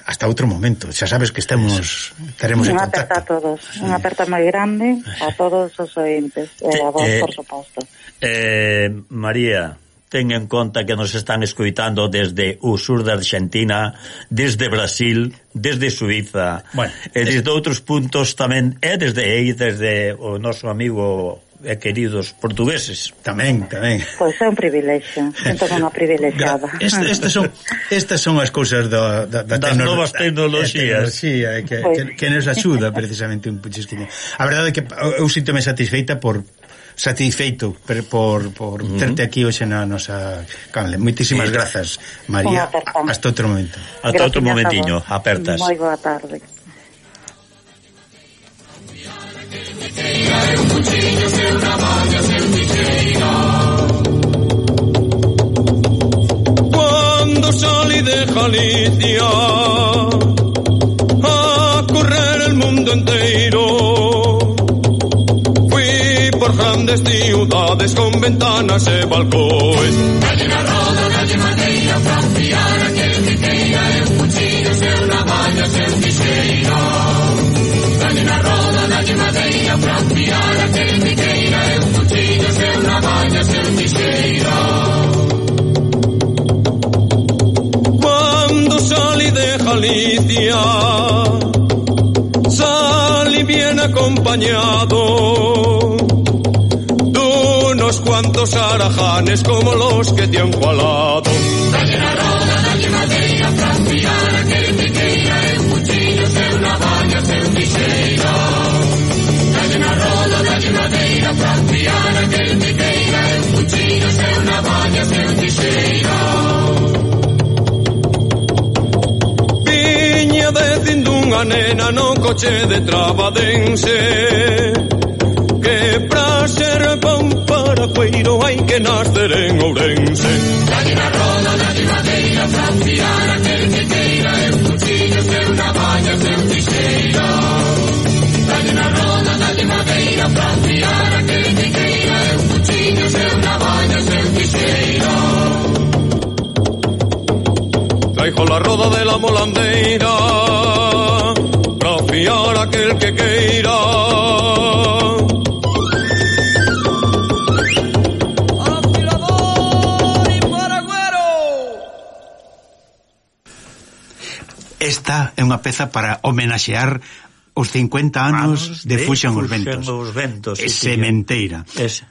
hasta outro momento. Xa sabes que estamos estaremos en contacto. Unha aperta a todos, unha aperta moi grande a todos os ointes, e a vos, eh, por suposto. Eh, María, ten en conta que nos están escoitando desde o sur da Argentina, desde Brasil, desde Suiza, bueno, e desde es... outros puntos tamén, e desde aí, desde o noso amigo e queridos portugueses. Tamén, tamén. Pois é un privilexio, sinto unha privilexiada. Este, estas son estas son as cousas da, da, da das tecno, novas tecnoloxías tecnoloxía, que, pues... que, que nos axuda precisamente un puchisquiño. A verdade é que eu sinto-me satisfeita por satisfeito por, por, por uh-huh. terte aquí hoxe na nosa canle. Moitísimas sí. grazas, María. Hasta outro momento. Hasta outro momentiño, apertas. Moi boa tarde. Cuando salí de Galicia a correr el mundo entero, fui por grandes ciudades con ventanas e balcóes. Dalle na roda, dalle madeira, pra fiar aquel que queira, e un cuchillo, se unha valla, se un tixeira. Dalle na roda, dalle madeira, pra fiar aquel que queira, e un cuchillo, se unha valla, se un tixeira. Cuando salí de Galicia, salí bien acompañado de unos cuantos arajanes como los que te han jalado. Dalle na roda, dalle madeira, pra fiar aquel que queira, e un cuchillo, se unha valla, se un tixeira. Dalle na roda, dalle madeira, pra fiar aquel que queira, e un cuchillo, se unha valla, se un tixeira. Viña dicindo unha nena no coche de Trabadense que pra ser bon paracueiro hai que nacer en Ourense. Dalle na roda, dalle madeira, pra fiar aquel que queira, e un cuchillo, se unha valla, se un tixeira. Dalle na roda, dalle madeira, pra fiar aquel que queira, e un cuchillo, se unha valla, se un tixeira. Traigo la roda de la molandeira pra fiar aquel que queira. Esta é unha peza para homenaxear os cincuenta anos de, de Fuxan os Ventos, os ventos e Sementeira. Ese.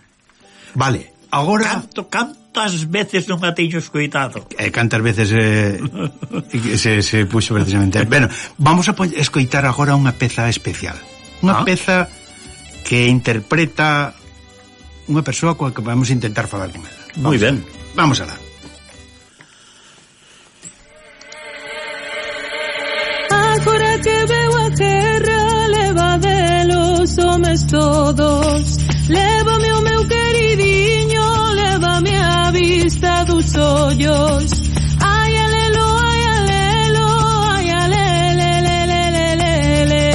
Vale, agora canto, cantas veces non a teño escoitado? E cantas veces eh, se, se puxo precisamente. Bueno, vamos a escoitar agora unha peza especial. Unha ah. peza que interpreta unha persoa coa que vamos a intentar falar con ela. Moi ben. Vamos alá. Agora que veo a terra, leva delos homes todos, lévame o meu queridinho, lévame a vista dos ollos. Ai alelo, ai alelo, ai alelelelelelele.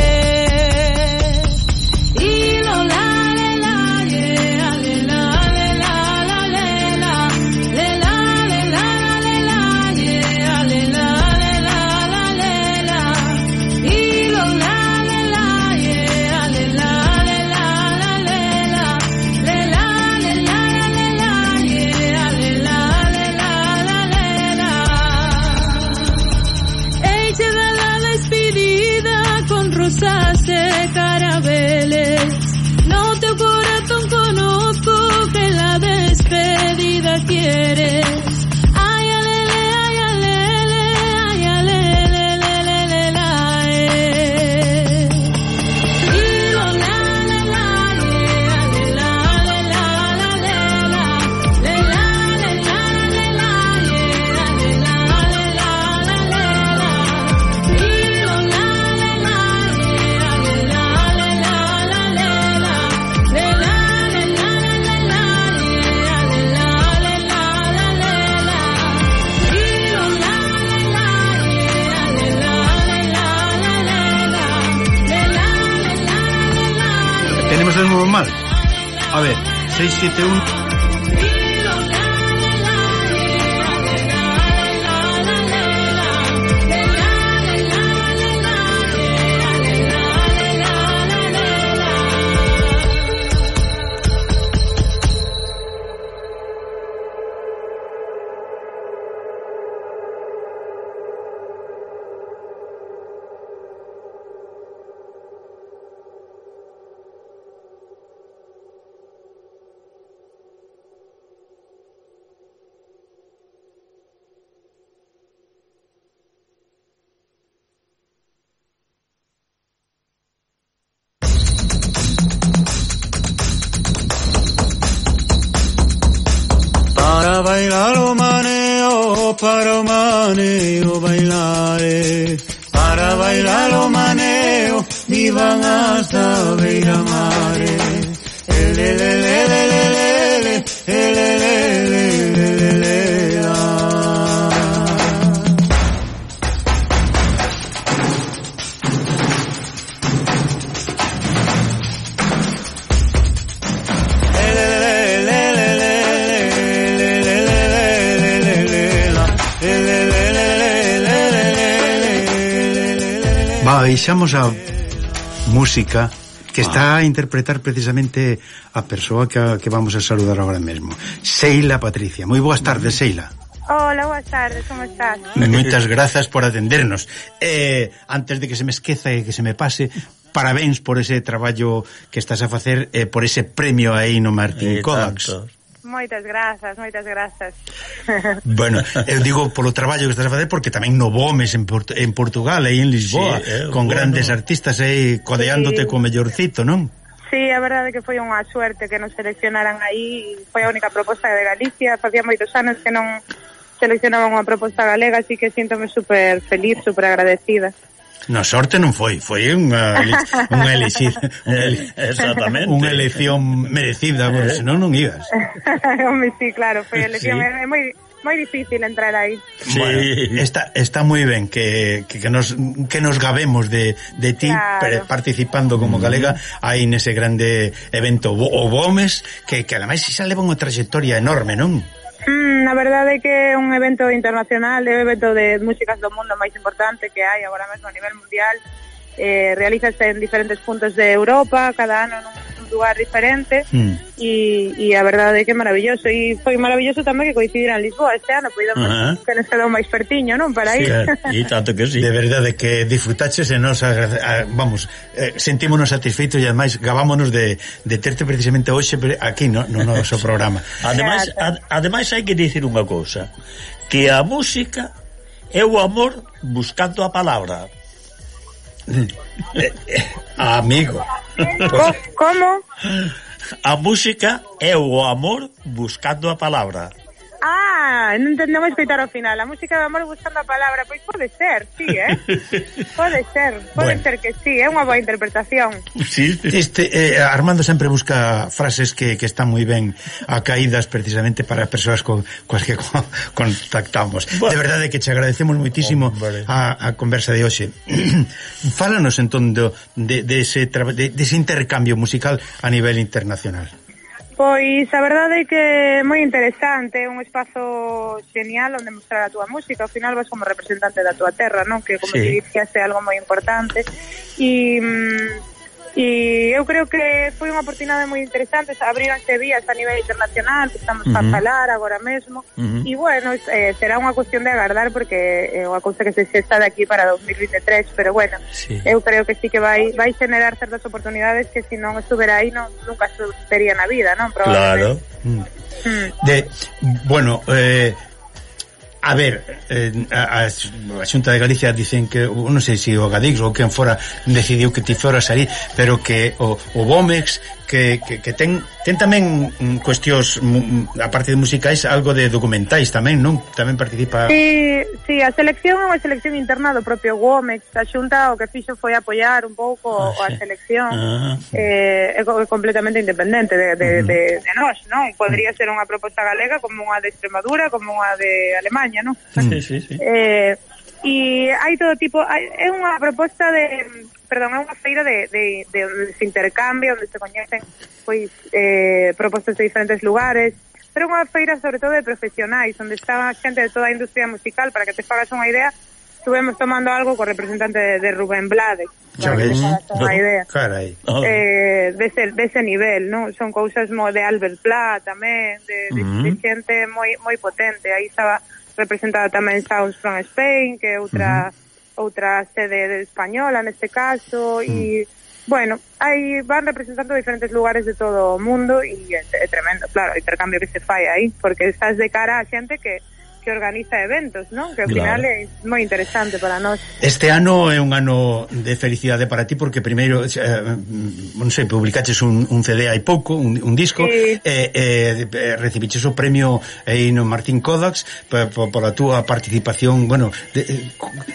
Y lo la le la ye, alela alela la lela, lela lela le la ye, alela alela la lela. Y lo la le la ye, alela alela la lela, lela lela le la ye, alela alela la lela. Ella da la despedida con rosas e carabeles. No teu corazón conozco que la despedida quieres. Ay alele, ay alele, ay alele, lele, la eh. Y lo la le la ye, alela alela la lela, lela lela le la ye, alela alela la lela. Y lo la le la ye, alela alela la lela, lela lela le la ye, alela alela la lela. Y lo la le la ye, alela alela la lela, lela lela le la ye. Tenemos el nuevo mal. A ver, seis siete uno. bailar o maneo, para o maneo bailare, para bailar o maneo, vivan hasta beira mare. Elelelelelelele, elelelelelele. Baixamos a música que está a interpretar precisamente a persoa que, a, que vamos a saludar agora mesmo, Seila Patricia. Moi boas tardes, Seila. Hola, boas tardes, como estás? Moitas grazas por atendernos. Eh, antes de que se me esqueza e que se me pase, parabéns por ese traballo que estás a facer, eh, por ese premio aí no Martín eh, Kovacs. Moitas grazas, moitas grazas. Bueno, eu digo polo traballo que estás a facer, porque tamén no Vomes en, Port en Portugal, aí en Lisboa, sí, eh, con bueno. grandes artistas aí codeándote sí. co mellorcito, non? Sí, a verdade que foi unha suerte que nos seleccionaran aí, foi a única proposta de Galicia, facía moitos anos que non seleccionaban unha proposta galega, así que síntome super feliz, super agradecida. Na sorte non foi, foi unha unha elexida, exactamente. Unha elección merecida, porque senón non ibas. Home, sí, claro, foi elección, sí. É moi moi difícil entrar aí. Sí. Bueno, está está moi ben que, que que nos que nos gabemos de de ti, claro. Participando como galega aí nese grande evento o Vomes, que que ademais xa leva unha trayectoria enorme, non? Mm, a verdade é que é un evento internacional, é un evento de músicas do mundo máis importante que hai agora mesmo a nivel mundial. Eh, realízase en diferentes puntos de Europa, cada ano nun lugar diferente, mm. e, e a verdade é que é maravilloso, e foi maravilloso tamén que coincidira en Lisboa este ano, poidamos uh -huh. que nos quedou máis pertiño, non, para ir. Sí, e tanto que sí. De verdade que disfrutaches e nos, a, a, vamos, eh, sentímonos satisfeitos e ademais gabámonos de, de terte precisamente hoxe aquí, no, no noso programa. Ademais, ad, ademais hai que dicir unha cousa, que a música é o amor buscando a palabra. eh, eh, amigo. Como? A música é o amor buscando a palabra. Ah, non entendemos escoitar ao final. A música do amor buscando a palabra. Pois pode ser, sí, eh? Pode ser, pode bueno. ser que sí, é unha boa interpretación. Sí, este eh, Armando sempre busca frases que, que están moi ben acaídas precisamente para as persoas con, coas que con, contactamos. Bueno. De verdade que te agradecemos moitísimo oh, a, a conversa de hoxe. Fálanos entón do, de, de, ese de, de ese intercambio musical a nivel internacional. Pois a verdade é que é moi interesante, é un espazo genial onde mostrar a túa música. Ao final vas como representante da túa terra, non? Que como sí. te dixas é algo moi importante. E, e eu creo que foi unha oportunidade moi interesante, abríronse vías a nivel internacional que estamos uh -huh. a falar agora mesmo. Uh -huh. E bueno, eh, será unha cuestión de agardar porque é unha cousa que se xesta de aquí para dos mil vinte e tres, pero bueno, sí. eu creo que sí que vai vai generar certas oportunidades que se non estuvera aí non, nunca sucedería na vida, non? Claro. Mm. Mm. De, bueno, eh, a ver, eh, a, a Xunta de Galicia dicen que, non sei se o Gadix ou quen fora decidiu que ti foras aí, pero que o, o Vomex que, que, que ten, ten tamén cuestións, a parte de musicais, algo de documentais tamén, non? Tamén participa... Sí, sí, a selección é unha selección interna do propio Vomex. A Xunta o que fixo foi apoiar un pouco ah, a selección. Ah, eh, é completamente independente de, de, uh -huh. de, de nós, non? Podría ser unha proposta galega como unha de Extremadura, como unha de Alemanha, non? Sí, sí, sí. Eh, e hai todo tipo, hai, é unha proposta de, perdón, é unha feira de, de, de, de intercambio onde se coñecen pois eh, propostas de diferentes lugares, pero unha feira sobre todo de profesionais onde está xente de toda a industria musical. Para que te fagas unha idea, estuvemos tomando algo co representante de, de Rubén Blades, para que te fagas unha idea. Carai. Eh, dese, dese nivel, non? Son cousas mo de Albert Pla tamén, de, de, uh -huh. de xente moi moi potente. Aí estaba representada tamén Sounds from Spain, que é outra uh -huh. outra sede española neste caso, e uh -huh. bueno, aí van representando diferentes lugares de todo o mundo e é, é tremendo, claro, o intercambio que se fai aí, porque estás de cara a xente que que organiza eventos, non? Que ao final Claro. é moi interesante para nós. Este ano é un ano de felicidade para ti porque primeiro, eh, non sei, publicaches un, un C D hai pouco, un, un disco, Sí. e eh, eh, recibiches o premio aí no Martín Kodax por, por, por a túa participación, bueno, de,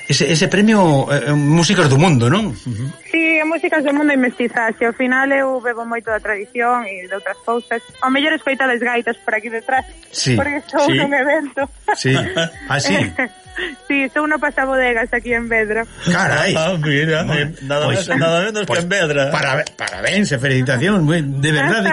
ese, ese premio eh, músicas do mundo, non? Uh-huh. Sí, músicas do mundo e mestizaxe. Ao final eu bebo moito da tradición e de outras cousas. Ao mellor escoitades gaitas por aquí detrás, Sí. porque estou Sí. nun evento. Sí. Ah, sí. Sí, estou no pasabodegas aquí en Vedra. Carai. Ah, mira, eh, nada Pois- máis e nada menos pois, que en Vedra. Para, parabéns e felicitacións, moi- de verdade.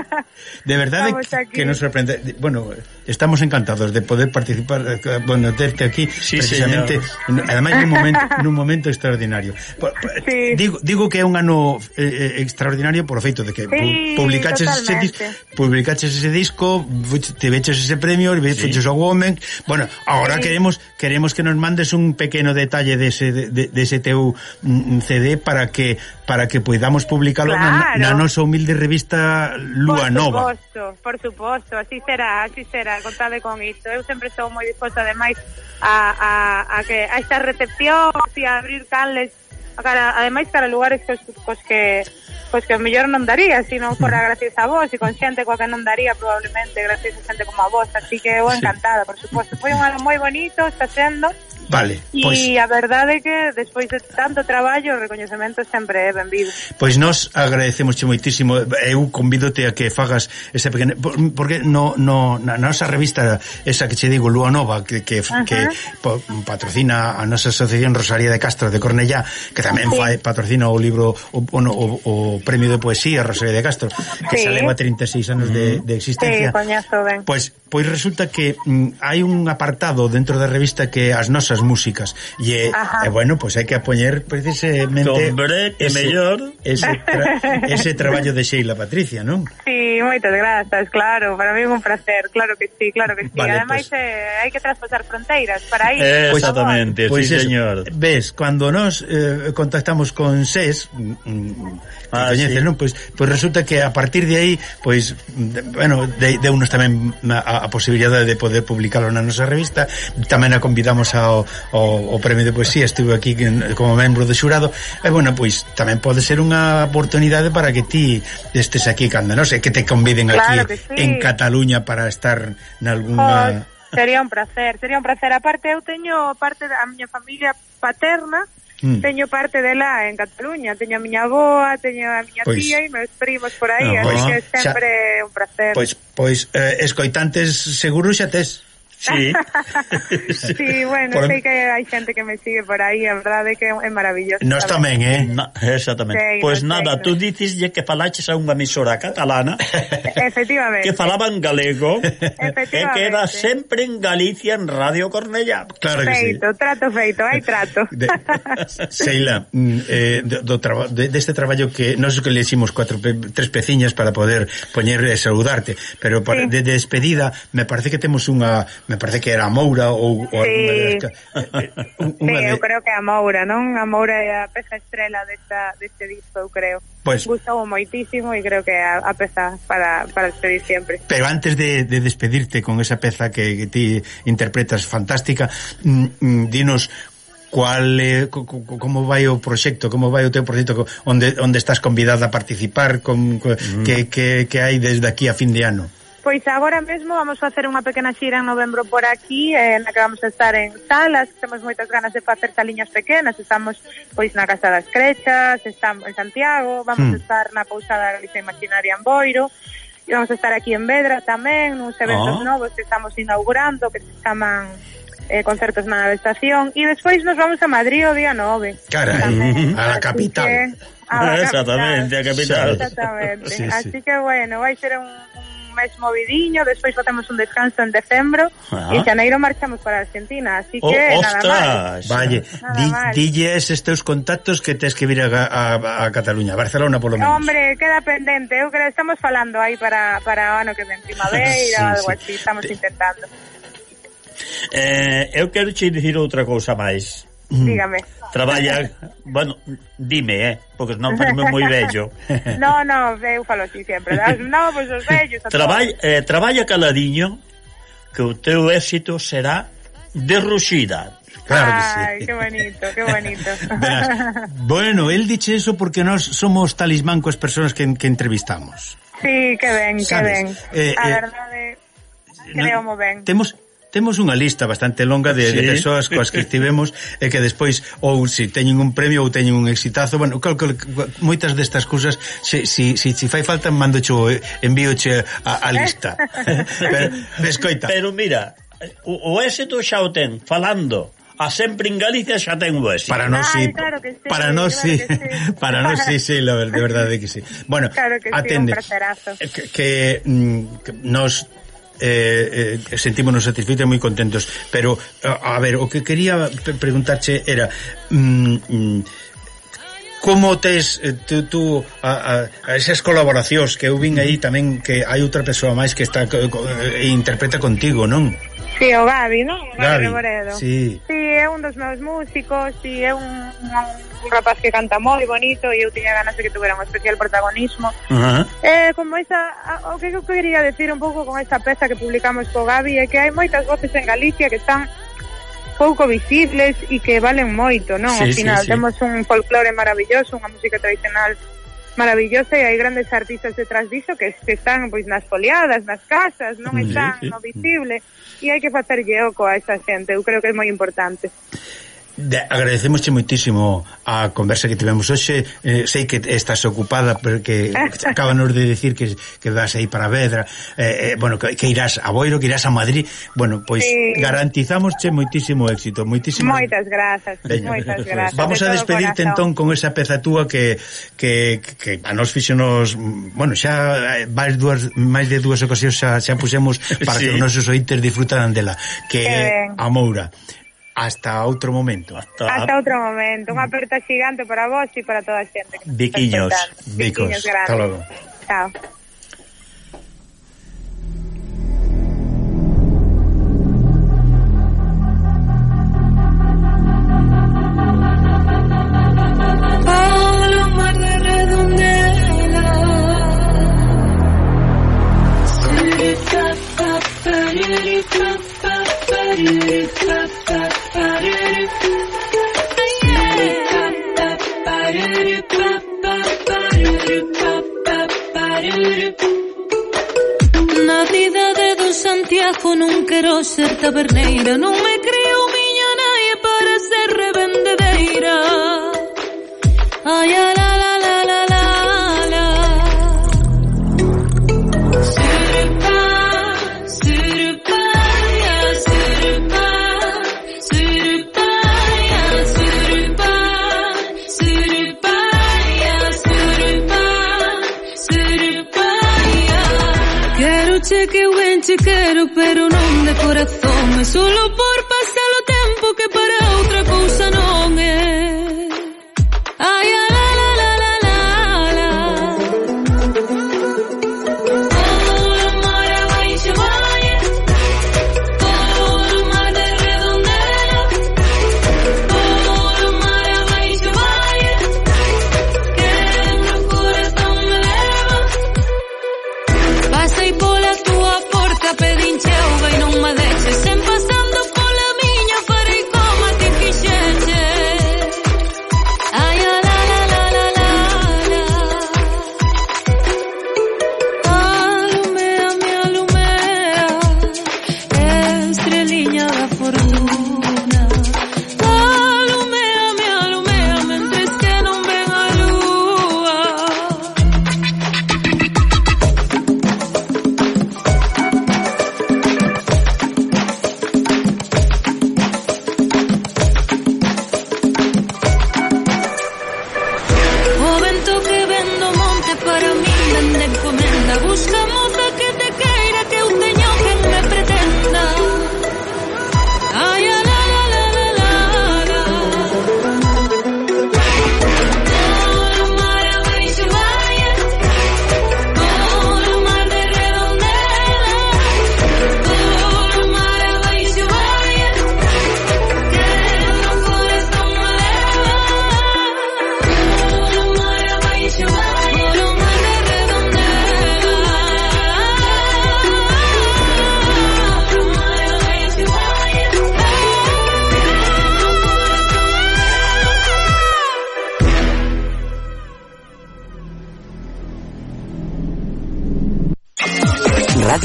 De verdade Estamos que, aquí. que nos sorprende. Bueno, estamos encantados de poder participar, eh, bueno, terte aquí Sí, precisamente, ademais nun momento, nun momento extraordinario. Po- po- Sí. Digo, digo que é un ano eh, eh, extraordinario por o feito de que Sí, pu- publicaches ese disco, totalmente. publicaches ese disco, fuch- te veches ese premio, sí. Feches o Women. Bueno, agora Sí. queremos queremos que nos mandes un pequeno detalle dese de, de, de ese teu mm, C D para que para que podamos publicarlo Claro. na, na nosa humilde revista Lúa Nova. Por suposto, por suposto, así será, así será, contade con isto. Eu sempre estou moi disposta ademais a, a, a que a esta recepción e a abrir canles a cara, ademais cara lugares cos, cos que pois que o mellor non daría, se non fora gracias a vos e con xente coa que non daría probablemente gracias a xente como a vos, así que eu encantada, por suposto. Foi un ano moi bonito, está sendo. Vale, E pois a verdade é que despois de tanto traballo o recoñecemento sempre é benvido. pois nós agradecemosche moitísimo. Eu convídote a que fagas ese pequeno porque no, no na nosa revista esa que che digo Lúa Nova que, que, que po, patrocina a nosa asociación Rosalía de Castro de Cornellá, que tamén Sí. fai, patrocina o libro o, o, o, o premio de poesía Rosalía de Castro, que Sí. se leva trinta e seis anos de, de Sí, existencia. coñazo ben. Pois pois resulta que mm, hai un apartado dentro da revista que as nosas músicas e, Ajá. e bueno, pois hai que apoñer precisamente Hombre, que mellor. ese, tra ese traballo de Sheila Patricia, non? Sí, moitas grazas, claro, para mí é un placer, claro que sí, claro que sí. Vale, Ademais pues. eh, hai que traspasar fronteiras para ir. Eh, por favor. exactamente, Pois sí, eso, señor. ves, cando nos eh, contactamos con SES, mm, mm, Ah, coñeces, sí. non? Pois, pois resulta que a partir de aí, pois, de, bueno, de, de unos tamén a, a posibilidade de poder publicarlo na nosa revista. Tamén a convidamos ao, ao, ao premio de poesía, estuve aquí como membro do xurado, e bueno, pois tamén pode ser unha oportunidade para que ti estes aquí cando, non sei, que te conviden Claro aquí que sí. en Cataluña para estar nalgúna... Pois, sería un placer, sería un placer. Aparte, eu teño parte da miña familia paterna, Mm. teño parte dela en Cataluña, teño a miña avoa, teño a miña Pois- tía e meus primos por aí, Ah, así pois, que sempre é un placer. Pois, pois eh, escoitantes seguro xa tes. Sí. Sí, bueno, Por- sei que hai xente que me sigue por aí, a verdade é que é maravilloso. Nós tamén, eh? Na, exactamente. Sei, Pois non nada, sei, tú non. diceslle que falaches a unha emisora catalana Efectivamente. que falaban galego e Efectivamente. que era sempre en Galicia en Radio Cornellá. Claro que sí. Feito, trato feito, hai trato. De, Sheila, mm, eh, do, do traba, de, deste traballo que nós que le hicimos cuatro pe, tres peciñas para poder poñer e saludarte, pero para, Sí. de despedida me parece que temos unha, me parece que era a Moura ou, ou Sí. alguna de las, eh, Sí, unha de, eu creo que a Moura, non? A Moura é a peza estrela desta, deste disco, eu creo. Pois- Gustou moitísimo e creo que é a, a peza para, para despedir sempre. Pero antes de, de despedirte con esa peza que, que ti interpretas fantástica, mm, mm, dinos cual é, co, co, como vai o proxecto, como vai o teu proxecto, co- onde onde estás convidada a participar, con, co, mm. que, que, que hai desde aquí a fin de ano. Pois agora mesmo vamos facer unha pequena xira en novembro por aquí, eh, na que vamos a estar en salas, temos moitas ganas de facer saliñas pequenas, estamos pois na Casa das Crechas, estamos en Santiago, vamos Hmm. a estar na Pousada Galicia Imaginaria en Boiro, e vamos a estar aquí en Vedra tamén, nuns eventos Ah. novos que estamos inaugurando, que se chaman eh, concertos na nave estación, e despois nos vamos a Madrid o día nove. Carai, Tamén. a la Así capital. que- a la Exactamente, a capital. Exactamente. Sí, sí. Así que bueno, vai ser un, un mes movidiño, despois facemos un descanso en decembro Ah. e en xaneiro marchamos para Argentina, así Oh, que nada máis. ostras. Valle, Nada di, mal. dille estes teus contactos que tes que vir a, a, a Cataluña, a Barcelona polo menos. Hombre, queda pendente, eu creo estamos falando aí para para o ano que ven, primavera, Sí, algo sí. así, estamos intentando. Eh, eu quero che dicir outra cousa máis. Dígame. Traballa, bueno, dime, eh, porque non parece moi bello. No, no, eu falo así sempre. As novos, os vellos, a Traballa, eh, traballa caladiño, que o teu éxito será derruxida. Claro que sí. Ay, qué bonito, qué bonito. Verás, bueno, él diche eso porque nós somos talismán coas persoas que, que entrevistamos. Sí, que ben, que Sabes? ben. Eh, A eh, verdade, creo mo ben. Temos temos unha lista bastante longa de, Sí. de persoas coas que estivemos e que despois ou si teñen un premio ou teñen un exitazo, bueno, cal, cal, moitas destas cousas se si si si fai falta mandocho, envíoche a, a lista. Pero escoita. Pero mira, o, o éxito xa o ten falando. A sempre en Galicia xa ten o éxito. Para nós Ay, sí, claro que sí, para nós claro sí, que sí. para nós sí, sí, la, de verdade que sí. Bueno, Claro que sí, atende, un placerazo. que, que, mm, que nos eh, eh, sentímonos satisfeitos e moi contentos, pero a, a ver, o que quería preguntarche era mm, mm, como tes eh, tú, tú a, a, a esas colaboracións que eu vin aí tamén, que hai outra persoa máis que está e interpreta contigo, non? Sí, o Gabi, non? O Gabi, Gabi Reboredo. sí. Sí, é un dos meus músicos, sí, é un, un, un rapaz que canta moi bonito e eu tiña ganas de que tuvera un especial protagonismo. Uh-huh. Eh, como esa, o que eu quería decir un pouco con esta peza que publicamos co Gabi é que hai moitas voces en Galicia que están pouco visibles e que valen moito, non? Sí, Ao final sí, sí. temos un folclore maravilloso, unha música tradicional maravillosa e hai grandes artistas detrás diso que, que están pois nas foliadas, nas casas, non Sí, están sí. no visible e hai que facerlle oco a esa xente, eu creo que é moi importante. De, agradecemosche moitísimo a conversa que tivemos hoxe. Eh, sei que estás ocupada porque acabanos de decir que, que vas aí para Vedra, eh, eh, bueno, que, que irás a Boiro, que irás a Madrid. Bueno, pois Sí. garantizamosche moitísimo éxito, moitísimas. Moitas grazas, Veña, moitas grazas. vamos a de todo despedirte corazón. entón con esa peza túa que, que, que a nos fixonos, bueno, xa máis dúas máis de dúas ocasións xa, xa puxemos para Sí. que os nosos ointes disfrutaran dela, que Que é ben. a Moura. Hasta outro momento. Hasta, Hasta outro momento, unha aperta xigante para vos e para toda a xente que nos está Biquiños, escoitando. bicos. Biquiños grandes. Hasta logo. Chao. Palomar de Redondela. Na cidade do Santiago non quero ser taberneira, non me creo miña nai para ser revendedeira. Ai, a la la la la la la. Surupa, surupa, ya surupa, surupa, ya surupa, surupa, ya surupa, surupa, ya. Quero che que eu ben che quero, pero non de corazón, é solo por pasar o tempo que para outra cousa non é. Ay, a la la la la la la. Todo o mar abaixo vai, todo o mar de Redondela, todo o mar abaixo vai, que no corazón me leva. Pasei pola tua porta, pedinche auga e non me deixes, sen pasando pola miña farei como a ti fixeche. Ay, a la la la la la la. Alumea, me alumea, estreliña da fortuna. Alumea, me alumea, mentres que non ven a lúa.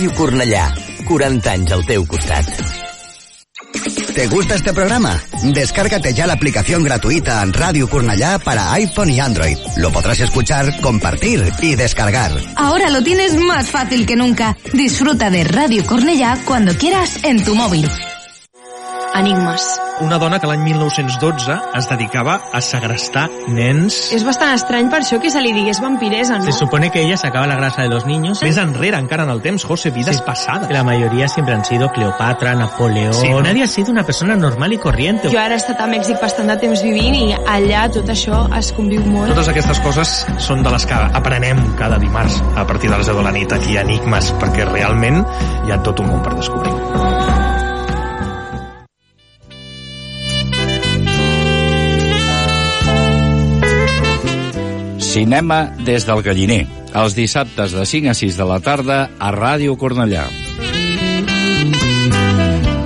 Ràdio Cornellà, quaranta anys al teu costat. ¿Te gusta este programa? Descárgate ya la aplicación gratuita en Radio Cornellà para iPhone y Android. Lo podrás escuchar, compartir y descargar. Ahora lo tienes más fácil que nunca. Disfruta de Radio Cornellà cuando quieras en tu móvil. Enigmes. Una dona que l'any mil nou-cents dotze es dedicava a segrestar nens. És bastant estrany per això que se li digués vampiresa, ¿no? Se supone que ella sacaba la grasa de los niños. Més enrere, encara en el temps, José, vidas sí. pasadas. La mayoría siempre han sido Cleopatra, Napoleón... Sí, ¿no? Nadie ha sido una persona normal y corriente. Jo ara he estat a Mèxic bastant de temps vivint i allà tot això es conviu molt. Totes aquestes coses són de les que aprenem cada dimarts a partir de les deu de la nit aquí a Enigmes, perquè realment hi ha tot un món per descobrir. Cinema des del Galliner, els dissabtes de cinc a sis de la tarda a Ràdio Cornellà.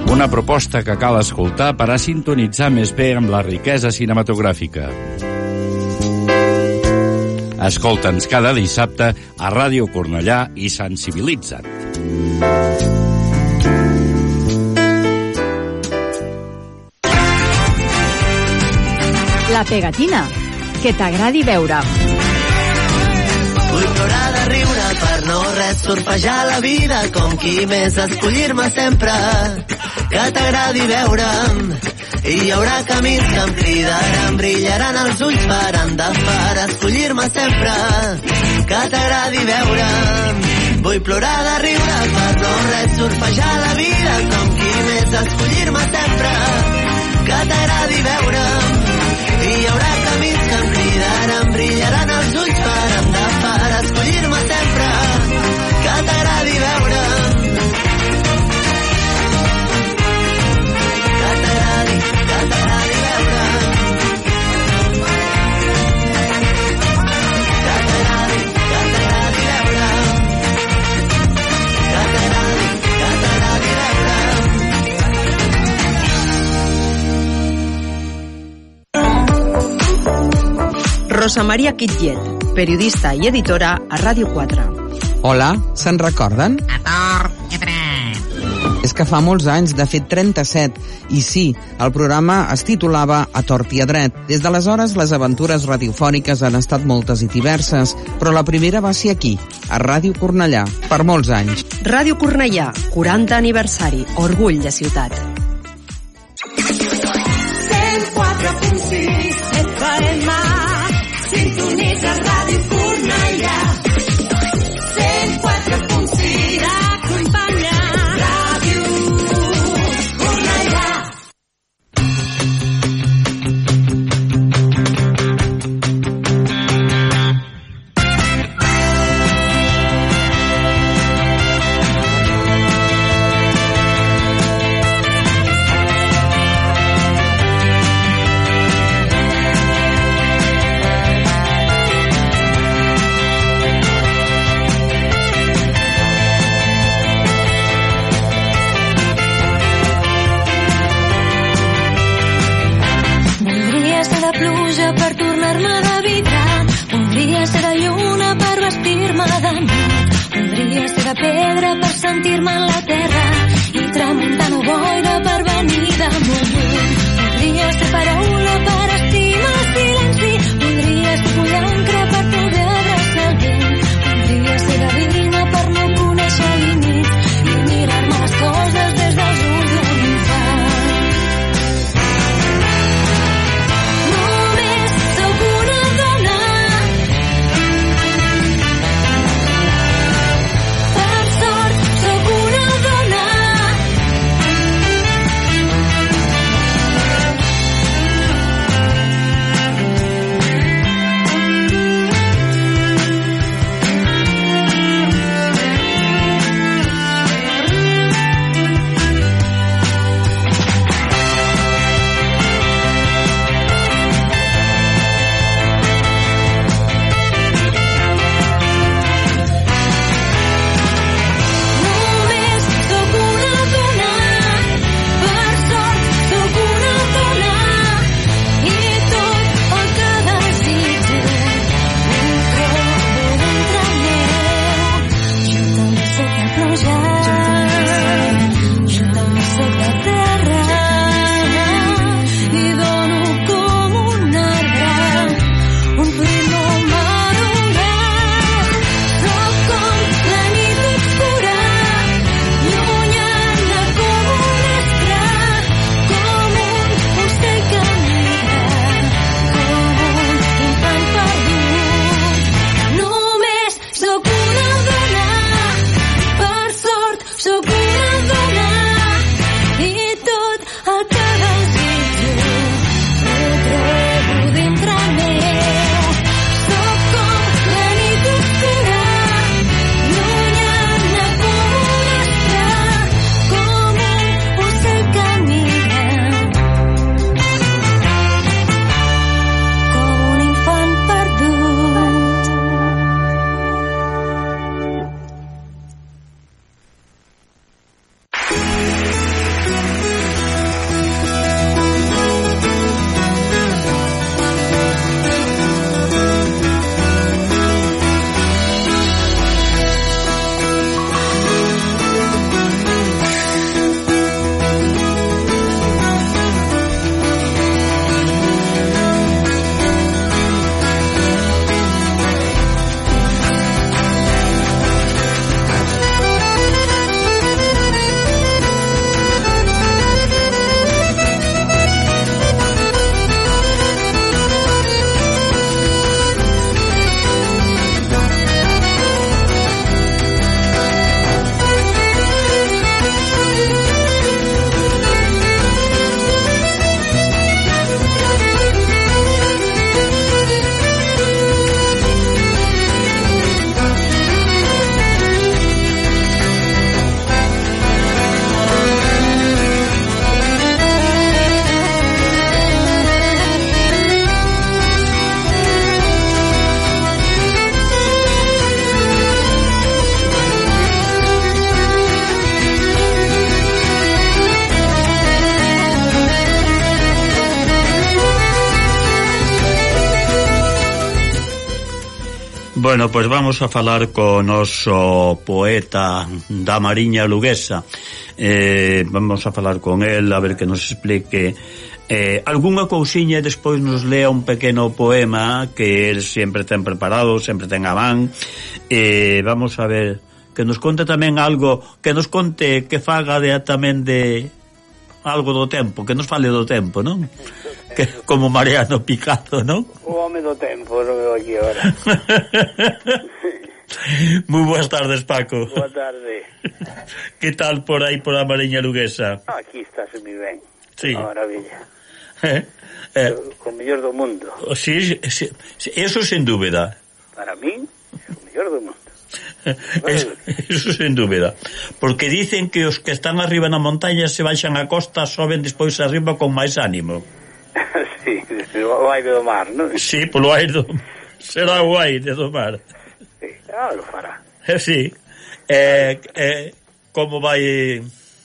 Una proposta que cal escoltar per a sintonitzar més bé amb la riquesa cinematogràfica. Escolta'ns cada dissabte a Ràdio Cornellà i sensibilitza't. La pegatina. Que t'agradi veure. Vull plorar de riure per no res surfejar la vida com qui més escollir-me sempre. Que t'agradi veure'm i hi haurà camins que em cridaran, brillaran els ulls faran de far escollir-me sempre. Que t'agradi veure'm. Vull plorar de riure per no res surfejar la vida com qui més escollir-me sempre. Que t'agradi veure'm i hi haurà camins que em cridaran, brillaran els ulls faran de far escollir-me sempre. Que t'agradi veure'm. Que t'agradi, que t'agradi veure'm. Que t'agradi, que t'agradi veure'm. Que t'agradi, que t'agradi veure'm. Rosa Maria Quitlet, periodista i editora a Ràdio quatre. Hola, se'n recorden? A tort, que tret. És que fa molts anys, de fet trenta-set, i sí, el programa es titulava A tort i a dret. Des d'aleshores, les aventures radiofòniques han estat moltes i diverses, però la primera va ser aquí, a Ràdio Cornellà, per molts anys. Ràdio Cornellà, quaranta aniversari, orgull de ciutat. cent quatre punt sis F M, sintonitza Ràdio Cornellà. cent quatre punt sis t'acompanya Ràdio Cornellà. Per tornar-me de vidre, voldria ser de lluna per vestir-me d'amor, voldria ser de pedra per sentir-me en la terra i tramuntana boira per venir de molt lluny, voldria ser paraula per estimar el silenci, voldria ser pollancre per poder abraçar el vent, voldria ser gavina per no conèixer límits i mirar-me les coses des dels ulls d'un infant. Per sort, sóc una dona Bueno, pois pues vamos a falar con noso poeta da Mariña Luguesa. Eh, vamos a falar con el a ver que nos explique eh, algunha cousiña e despois nos lea un pequeno poema que el sempre ten preparado, sempre ten a man. Eh, vamos a ver que nos conte tamén algo, que nos conte que faga de, tamén de algo do tempo, que nos fale do tempo, non? Que, como Mariano Picado, non? O home do tempo, non veo aquí agora. Moi boas tardes, Paco. Boa tarde. Que tal por aí, por a Mariña Luguesa? Ah, aquí estáse moi ben. Sí. Unha maravilla. Eh, eh. O mellor do mundo. Sí, sí, eso sin dúbida. Para min, o mellor do mundo. Eso, eso sin dúbida. Porque dicen que os que están arriba na montaña se baixan a costa, soben despois arriba con máis ánimo. Sí, o aire do mar, non? Sí, polo aire do... será o aire do mar. Sí, algo fará. Eh, sí. Eh, eh, como vai...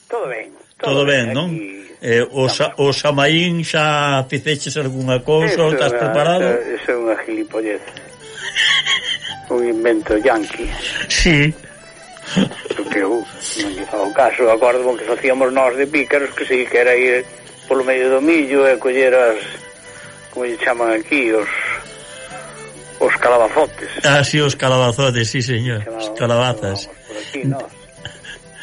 Todo ben. Todo, todo ben, non? Eh, o, sa, o Samaín xa ficeches algunha cousa, ou estás preparado? Eso é unha gilipollez. Un invento yanqui. Sí. Porque eu non lle fago caso. Acordo que facíamos nós de pícaros, que sí, que era ir polo medio do millo e coller as, como lle chaman aquí, os os calabazotes. Ah, sí, os calabazotes, sí, señor. Os calabazas. Por aquí, nós.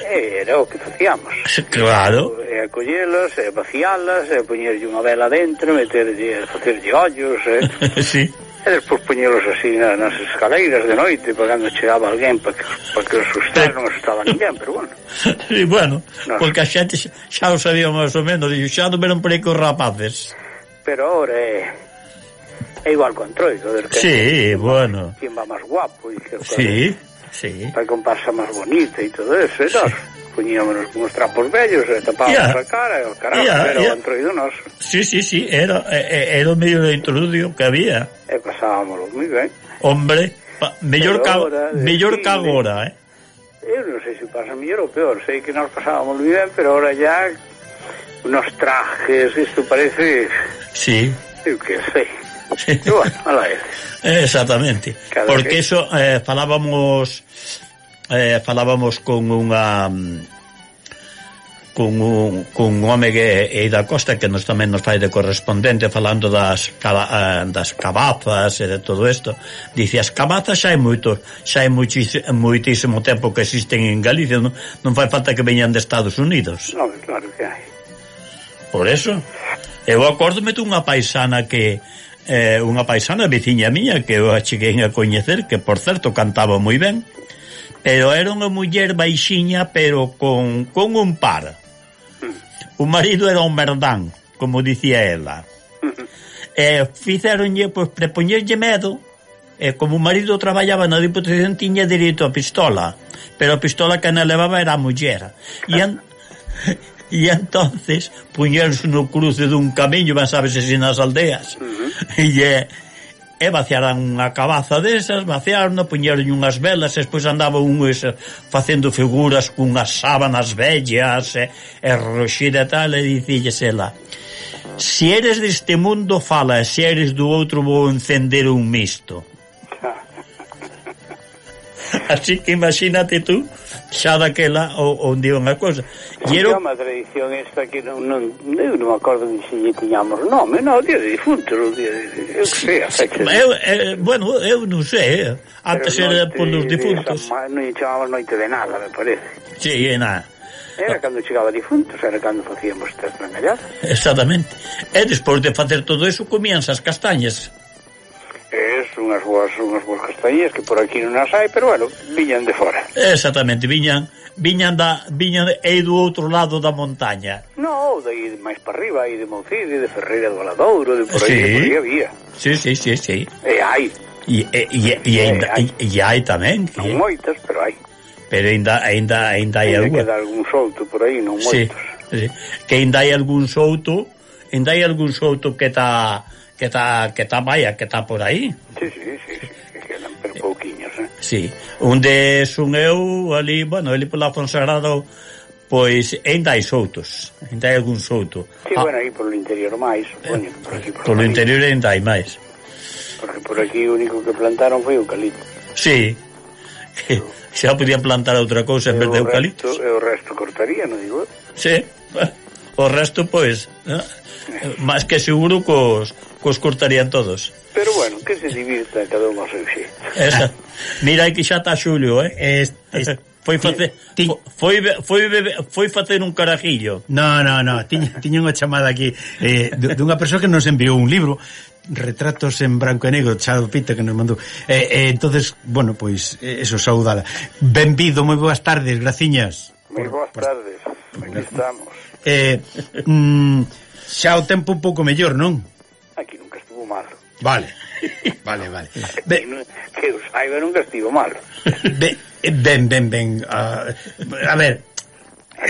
Era o que facíamos. Claro. E a collelas, e vacialas, e poñerlle unha vela dentro, meterlle, facerlle ollos, e... Sí. E despois poñelos así na, nas escaleiras de noite, para cando chegaba alguén, para que, para que os asustara, non asustaba ninguén, pero bueno. Sí, bueno, no, porque a xente xa, xa o sabía máis ou menos, e xa non veron por aí cos rapaces. Pero ahora é... é igual con Troido, del que... Sí, bueno. Quien va máis guapo, e que... Sí, sí. Para comparsa máis bonita e todo eso, e nós poñíamos uns trapos vellos e tapábamos yeah. a cara, e o caramba, yeah, era yeah. o Antroido noso. Sí, sí, sí, era, era o medio de introducio que había. E pasábamos moi ben. Hombre, pa, mellor ca, mellor que agora, eh? Eu non sei se pasa mellor ou peor, sei que nós pasábamos moi ben, pero ahora ya unos trajes, isto parece... Sí. Eu que sei. Sí. E bueno, ala é. Exactamente. Cada porque que... eso, eh, falábamos... Eh, falábamos con unha con un, con un home que é da Costa que nos tamén nos fai de correspondente falando das caba, das cabazas e de todo isto. Dice, as cabazas xa hai moito xa hai moitísimo tempo que existen en Galicia, non, non fai falta que veñan de Estados Unidos. Non, claro que hai. Por eso eu acórdome dunha paisana que eh, unha paisana veciña miña que eu a cheguei a coñecer, que por certo cantaba moi ben, pero era unha muller baixiña, pero con, con un par. O marido era un merdán, como dicía ela. E fixeronlle, pois, prepoñerlle medo, e como o marido traballaba na Diputación, tiña dereito a pistola, pero a pistola que na levaba era a muller. E, en, e entonces puñeronse no cruce dun camiño, ben sabes, así nas aldeas, e é... e vaciaran unha cabaza desas, vaciaron, puñeron unhas velas, e despois andaba un ese, facendo figuras cunhas sábanas vellas e, e roxida e tal, e dicilles ela, si eres deste mundo fala, e se eres do outro vou encender un misto. Así que imagínate tú xa daquela onde iba unha cosa. E era unha tradición esta que non, non, eu non me acordo de se lle tiñamos nome, non, o día de difuntos, o día de... eu que sei, a fecha de... Eu, eh, bueno, eu non sei, eh. Antes era por los difuntos. Non lle chamamos noite de nada, me parece. Sí, é nada. Era cando chegaba difuntos, era cando facíamos estas trangalladas. Exactamente. E despois de facer todo eso, comíanse as castañas. Es unhas boas, unhas boas castañas que por aquí non as hai, pero bueno, viñan de fora. Exactamente, viñan viñan da viñan aí do outro lado da montaña. No, de aí máis para arriba, aí de Moucide, de Ferreira do Valadouro, de por aí, sí. De por aí había. Sí, sí, sí, sí. E hai. E e e, e, ainda, e, e hai tamén. Non que... moitas, pero hai. Pero ainda ainda ainda hai algún. Queda algún souto por aí, non moitos. Sí, sí. Que ainda hai algún souto, ainda hai algún souto que está que está que está vaya, que está por aí. Sí, sí, sí, sí, que quedan pero pouquiños, eh. Sí, onde son eu ali, bueno, ali pola Fonsagrado, pois ainda hai soutos, ainda hai algún souto. Sí, ah, bueno, aí polo interior máis, supoño, por aquí por polo interior ainda hai máis. Porque por aquí o único que plantaron foi o eucalipto. Sí. Xa podían plantar outra cousa en vez de eucaliptos. E o resto cortaría, non digo? Sí. O resto, pois, ¿no? Más que seguro cos, cos cortarían todos. Pero bueno, que se divirta cada un ao seu xeito. Esa. Mira que xa está Xulio, eh? Es, es, foi facer foi foi foi facer un carajillo. No, no, no, tiña tiña unha chamada aquí eh dunha persoa que nos enviou un libro, Retratos en branco e negro, Chado Pita, que nos mandou. Eh, eh entonces, bueno, pois pues, eso, saudala. Benvido, moi boas tardes, graciñas. Moi boas tardes. Aquí estamos. Eh, mm, xa o tempo un pouco mellor, non? Aquí nunca estuvo malo. Vale. Vale, vale. Be, que os saiba nunca estivo malo. Be, ben, ben, ben. Uh, a ver,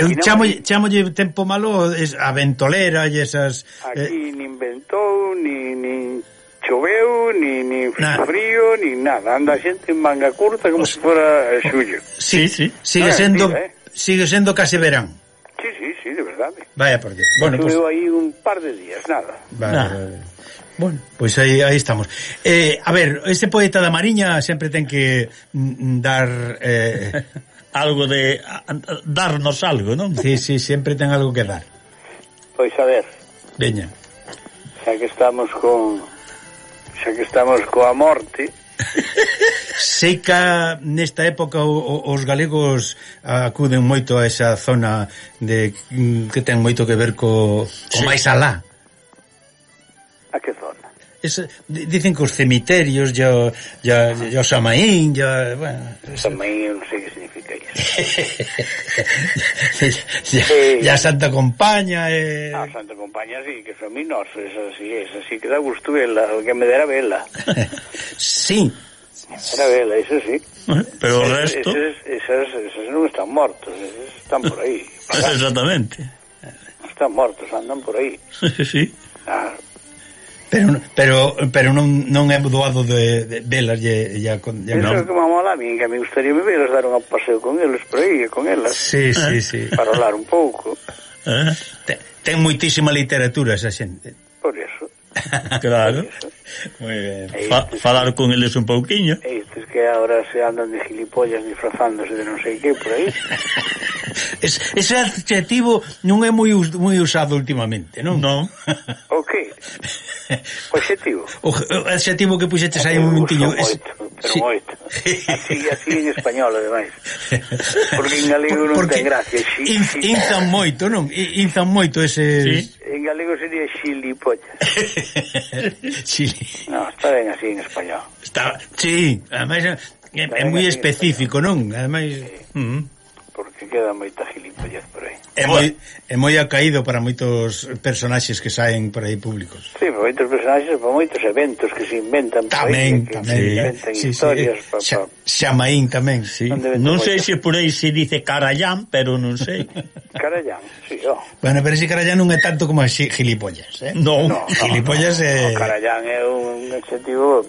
eu chamo, chamolle tempo malo es a ventolera e esas... Aquí eh, nin ventou, ni, ni choveu, ni, ni frío, ni nada. Anda a xente en manga curta como se fora xullo. Sí, sí. Sigue no, sendo mentira, eh? Sigue sendo case verán. Sí, sí, sí, de verdade. Vaya por Dios. Bueno, choveu pues... aí un par de días, nada. Vale, nah. vale. Bueno, pois pues aí, aí estamos. Eh, a ver, este poeta da Mariña sempre ten que mm, dar... Eh... algo de... A, darnos algo, non? Sí, sí, sempre ten algo que dar. Pois a ver. Veña. Xa que estamos con... Xa que estamos coa morte... Sei que nesta época o, o, os galegos acuden moito a esa zona de que ten moito que ver co, co sí. máis alá. A que zona? Es, dicen que os cemiterios ya, ya, ya o Samaín ya, bueno, Samaín non sei que significa iso. ya, eh, ya Santa Compaña eh... ah, Santa Compaña sí, que son minos, esa sí, esa sí que da gusto vela, que me dera vela. Sí, era vela, eso sí. Pero o resto esos, esos, esos non están mortos, esos están por aí. Exactamente. Están mortos, andan por aí. Sí. Ah, Pero pero pero non non é doado de, de velas ya, ya con ya eso no. É que me mola a mí, que me gustaría me veros dar un paseo con eles por aí, con elas. Sí, sí, sí. Para hablar un pouco. Eh? Ten, ten moitísima literatura esa xente. Por eso. Claro. Muy bien. Fa, falar con eles un pouquiño. Estes que agora se andan de gilipollas disfrazándose de non sei que por aí. Es, ese adjetivo non é moi moi usado últimamente, non? Non. O que? O adjetivo. O, o adjetivo que puxetes aí un momentiño. Es... Pero sí. Moito. Así, así en español, ademais. Porque en galego non Porque ten gracia. In, inzan moito, non? Inzan moito ese... Sí. En galego sería xilipollas. Chili. No, está ben así en español. Está, sí, ademais é, é moi específico, non? Ademais... Sí. Uh -huh. Porque queda moita gilipollez por aí. É moi, é moi acaído para moitos personaxes que saen por aí públicos. Sí, para moitos personaxes, para moitos eventos que se inventan por tamén, aí. Que tamén, se inventan sí, historias. Sí, sí. Pa, pa... Xamaín tamén, sí. Non sei se por aí se dice Carallán, pero non sei. Carallán, sí, oh. Bueno, pero ese Carallán non é tanto como as gilipollas, eh? Non, no, gilipollas no, é... No, Carallán é un adjetivo...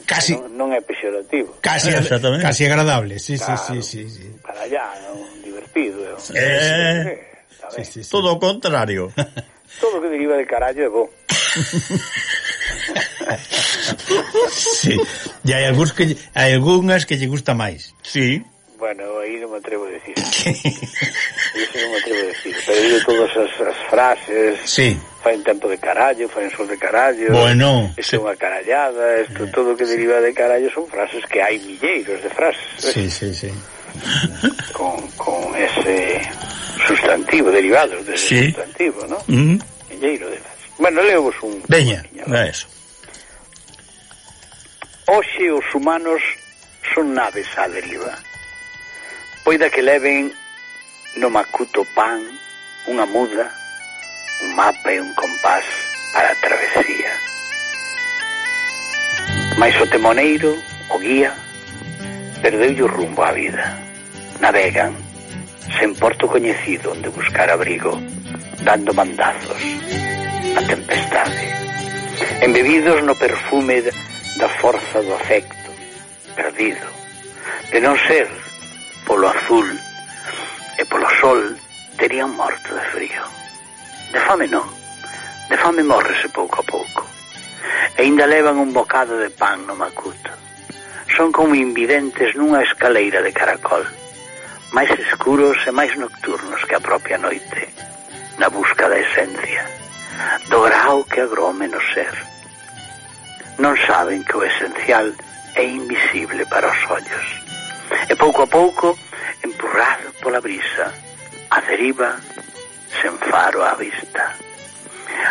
Casi, non, non é pexorativo. Casi, casi agradable, sí, claro, sí, sí, sí, sí. Carallán, un divertido. Eh, eh, sí, sí, sí. Todo o contrario. Todo que deriva de carallo é bo. Sí. E hai algúns que hai algunhas que lle gusta máis. Sí. Bueno, aí non me atrevo a decir. Eso non me atrevo a decir. Pero digo todas as, as frases. Sí. Fai un tempo de carallo, fai un sol de carallo. Bueno. Isto é unha carallada. Isto, eh, todo o que sí. deriva de carallo son frases que hai milleiros de frases. Sí, sí, sí. Con, con ese sustantivo, derivados de ese sí. sustantivo, ¿no? Mm. Milleiro de frases. Bueno, leovos un... Veña, é eso. Hoxe os humanos son naves á deriva. Poida que leven no macuto pan unha muda, un mapa e un compás para a travesía. Mais o temoneiro, o guía, perdeulle o rumbo á vida. Navegan, sen porto coñecido onde buscar abrigo, dando mandazos a tempestade. Embebidos no perfume da forza do afecto, perdido, de non ser polo azul e polo sol, terían morto de frío. De fame non, de fame morrese pouco a pouco. E ainda levan un bocado de pan no macuto. son como invidentes nunha escaleira de caracol, máis escuros e máis nocturnos que a propia noite, na busca da esencia, do grao que agrome no ser. Non saben que o esencial é invisible para os ollos, e pouco a pouco, empurrado pola brisa, a deriva, sen faro á vista.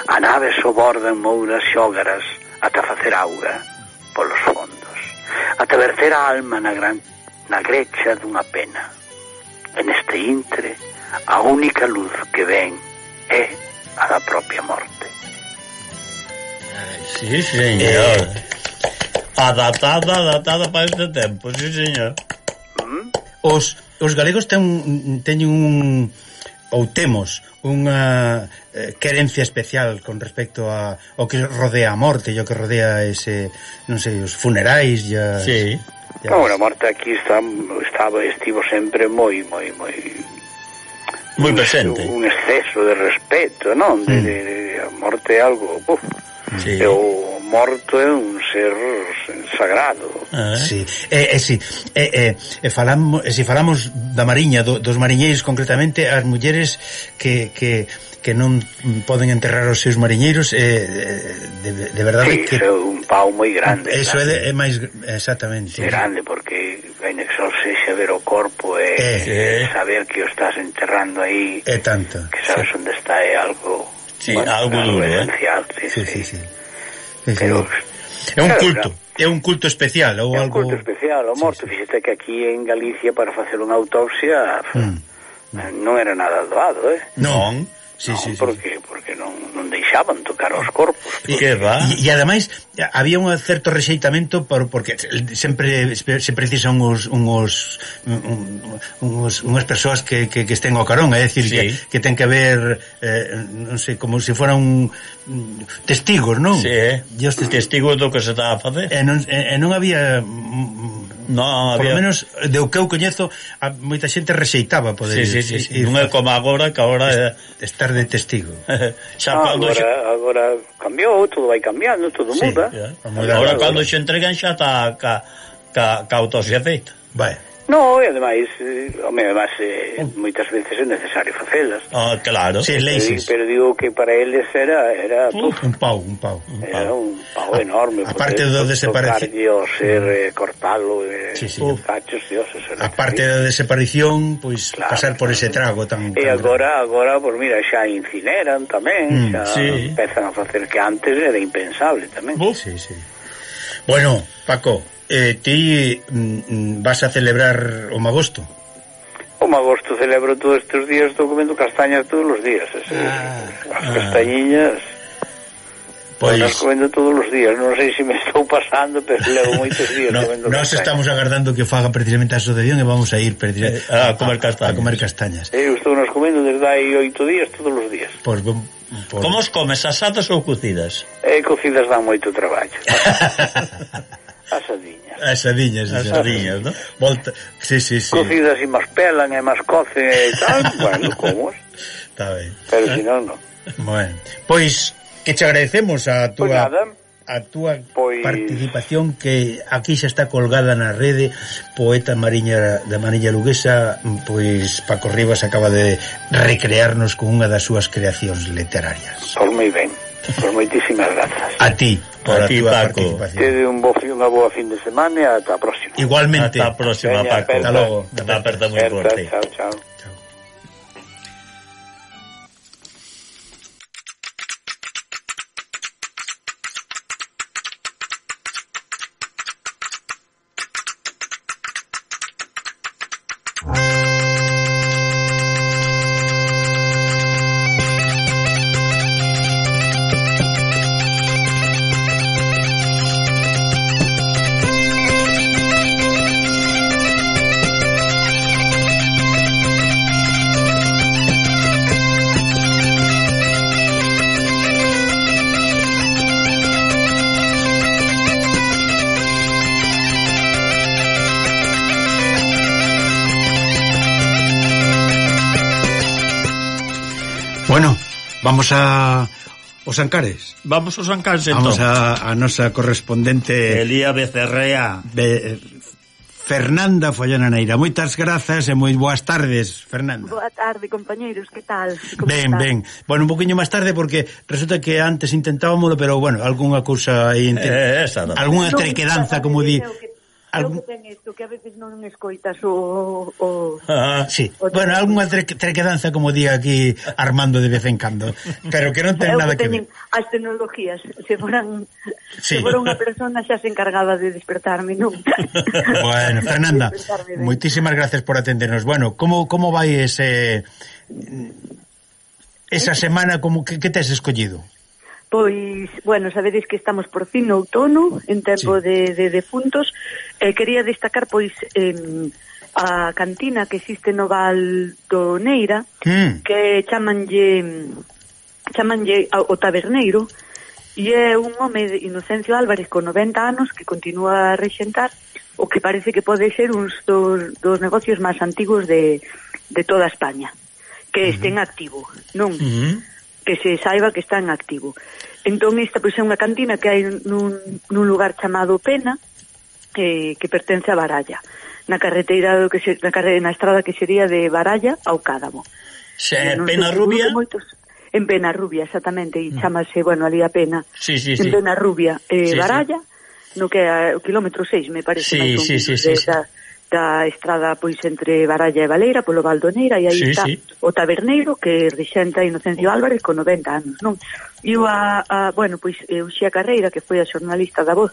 A nave soborda en mouras xógaras ata facer auga polos fondos, ata verter a alma na, gran, na grecha dunha pena. En este intre, a única luz que ven é a da propia morte. Sí, señor. Eh... Adaptada, adaptada para este tempo, sí, señor. ¿Mm? Os, os galegos ten, teñen un... ou temos unha eh, querencia especial con respecto a o que rodea a morte e o que rodea ese, non sei, os funerais ya, sí. Ya no, a morte aquí está, estaba, estivo sempre moi, moi, moi moi presente, un, un exceso de respeto, non? De, mm. de, de, a morte é algo, uf, sí. E o morto é un ser sagrado. Ah, sí, e eh, eh, sí. eh, eh, falamos, eh, si falamos da mariña, do, dos mariñeiros concretamente, as mulleres que, que, que non poden enterrar os seus mariñeiros, eh, de, de verdade sí, que... é un pau moi grande. Eso claro. é, é máis... Exactamente. É grande, porque en exorse xa ver o corpo e eh, eh, saber que o estás enterrando aí, é tanto. Que sabes sí. onde está, é algo... Sí, bueno, algo duro, esencial, eh? sí, sí, sí, sí. sí. Pero, é un culto, é un culto especial ou é un algo... culto especial, o morto, sí, sí. Fíxate que aquí en Galicia para facer unha autopsia mm. non era nada doado, eh? Non, sí, non, sí, sí, porque, sí. porque non, non deixaban tocar os corpos. E, que va? E, e ademais había un certo rexeitamento por, porque sempre se precisan uns, uns, uns unhas persoas que, que, que estén ao carón, é dicir, sí. que, que ten que haber eh, non sei, como se fora un testigos, non? Sí, eh? Tes... testigos do que se estaba a facer. E non, e, e non había... No, por había... lo menos de o que eu coñezo a moita xente rexeitaba poder sí, sí, sí, sí. Non é como agora que agora é... estar de testigo. Xa ah, agora, xa... agora cambiou, todo vai cambiando, todo sí, muda. Agora, agora cando se entregan xa está ca, ca, ca autopsia feita. Vai. No, e ademais, eh, ademais eh, moitas veces é necesario facelas. Ah, claro. Sí, pero, pero digo que para eles era era uh, un pau, un pau, un era pau. un pau enorme. A parte do desaparición, ser eh, cortalo, eh, sí, sí. cachos, dioses. A parte da desaparición, pois pues, claro, pasar por ese trago tan. E agora, agora, pues mira, xa incineran tamén, mm, xa sí. empezan a facer que antes era impensable tamén. Uh, sí, sí. Bueno, Paco, eh, ti mm, vas a celebrar o magosto? O magosto celebro todos estes días, estou comendo castañas todos os días. Ese, ah, as ah. castañiñas pois as comendo todos os días. Non sei se me estou pasando, pero levo moitos días no, comendo castañas. Nós estamos agardando que faga precisamente a asociación e vamos a ir eh, a, a comer castañas. A comer castañas. Eu estou nos comendo desde hai oito días todos os días. Pois pues, Por... Como os comes, asadas ou cocidas? Eh, cocidas dan moito traballo. Asadiñas. Asadiñas, asadiñas, ¿no? Volta... Sí, sí, sí. Cocidas e máis pelan e máis cocen e tal, bueno, como está ben. Pero eh? si non, non. Bueno, pois que te agradecemos a túa... Pois nada. a túa pois... participación, que aquí xa está colgada na rede. Poeta mariña da Mariña Luguesa, pois Paco Rivas acaba de recrearnos con unha das súas creacións literarias. Pois moi ben, pois moitísimas grazas. A ti por a, a ti, túa Paco. Participación. Tede un bo, unha boa fin de semana e ata a próxima. Igualmente. Ata a próxima, Veña, Paco. Ata logo. Ata aperta moi forte. Chao, chao. Bueno, vamos a Os Ancares. Vamos aos Ancares, entón. Vamos a, a nosa correspondente Elía Becerrea de, Fernanda Follana Neira. Moitas grazas e moi boas tardes, Fernanda. Boa tarde, compañeiros, que tal? Ben, ben. Bueno, un poquinho máis tarde porque resulta que antes intentábamos, pero bueno, algunha cousa aí, eh, algunha trequedanza, como di. Algún... que ten isto, que a veces non escoitas o... o... Ah, sí, o bueno, algunha tre trequedanza, como di aquí Armando de vez en cando, pero que non ten nada que, que ver. As tecnologías, se foran sí. se fora unha persona xa se encargaba de despertarme, non? Bueno, Fernanda, moitísimas gracias por atendernos. Bueno, como como vai ese esa semana, como que, que tes escollido? Pois, bueno, sabedes que estamos por fin no outono, en tempo sí. de, de defuntos. Eh, quería destacar, pois, eh, a cantina que existe no Val do Neira, mm. que chamanlle, chamanlle o Taberneiro, e é un home de Inocencio Álvarez con noventa anos que continúa a rexentar o que parece que pode ser uns dos, dos negocios máis antigos de, de toda España, que mm. este en activo, non? Mm. Que se saiba que está en activo. Entón, esta pois é unha cantina que hai nun, nun lugar chamado Pena, que, que pertence a Baralla, na carreteira do que se, na, carre, na estrada que sería de Baralla ao Cádamo. Se, Pena Rubia? Moitos, en Pena Rubia, exactamente, e mm. chamase, bueno, ali a Pena. Sí, sí, en sí. Pena Rubia, eh, sí, Baralla, sí. no que é o kilómetro seis, me parece, sí, máis sí, sí, sí, sí. Da, da estrada pois entre Baralla e Valeira polo Valdoneira, e aí sí, está sí. o Taberneiro que rexenta Inocencio Álvarez con noventa anos, non? E a, a bueno, pois Uxía Carreira, que foi a xornalista da Voz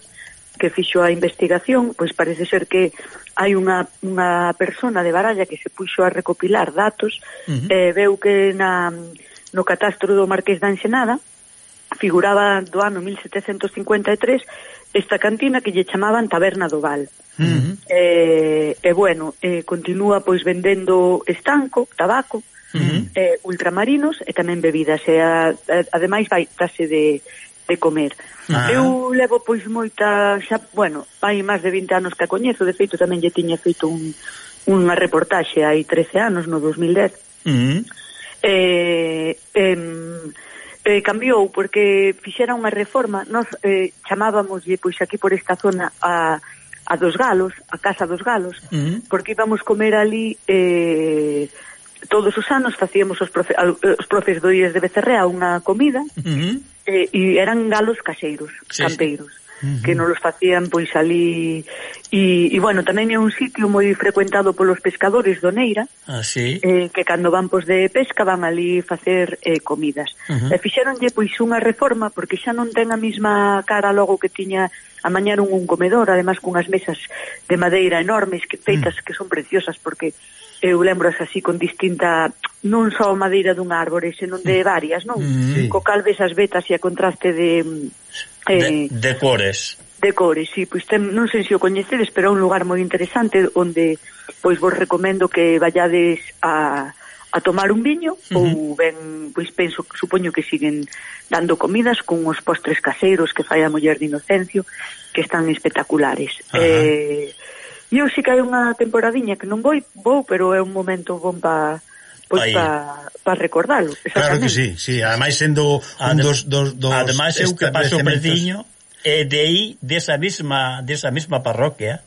que fixo a investigación, pois parece ser que hai unha, unha persona de Baralla que se puxo a recopilar datos, uh -huh. eh, veu que na, no catastro do Marqués da Ensenada figuraba do ano mil setecentos cincuenta e tres esta cantina que lle chamaban Taberna do Val. Uh -huh. eh, e bueno, eh, continúa pois vendendo estanco, tabaco, uh -huh. eh, ultramarinos e tamén bebidas, e a, a, ademais vai tase de, de comer. Uh -huh. Eu levo pois moita, xa, bueno, hai máis de vinte anos que a coñezo, de feito tamén lle tiña feito un, unha reportaxe hai trece anos, no dos mil dez. Uh -huh. eh, eh, eh, cambiou porque fixera unha reforma, nós eh, chamábamoslle pois aquí por esta zona a a dos Galos, a Casa dos Galos, uh -huh. porque íbamos comer ali eh, todos os anos, facíamos os, profe, os profes do I E S de Becerrea unha comida, uh -huh. eh, e eran galos caseiros, sí, campeiros, sí. uh -huh. que nos los facían pois ali, e, e bueno, tamén é un sitio moi frecuentado polos pescadores do Neira, ah, sí. eh, que cando van pois de pesca van ali facer eh, comidas. Uh -huh. E fixeronlle pois unha reforma, porque xa non ten a mesma cara logo que tiña. Amañaron un comedor, además cunhas mesas de madeira enormes, que feitas, mm. que son preciosas, porque eu lembro así con distinta, non só madeira dun árbore, senón de varias, non? Mm. Co cal ves as vetas e a contraste de... Eh, de, de cores. De cores, sí, pois ten, non sei se o coñecedes, pero é un lugar moi interesante, onde, pois vos recomendo que vallades a... a tomar un viño, uh -huh. ou ben, pois penso, supoño que siguen dando comidas con os postres caseiros que fai a muller de Inocencio, que están espectaculares. Uh -huh. Eh, eu sí que hai unha temporadiña que non vou, vou, pero é un momento bon pa pois pa, pa recordalo. Claro que sí, sí, ademais sendo un Adem dos, dos, dos ademais eu que paso preciño, e de aí, desa mesma, desa mesma parroquia,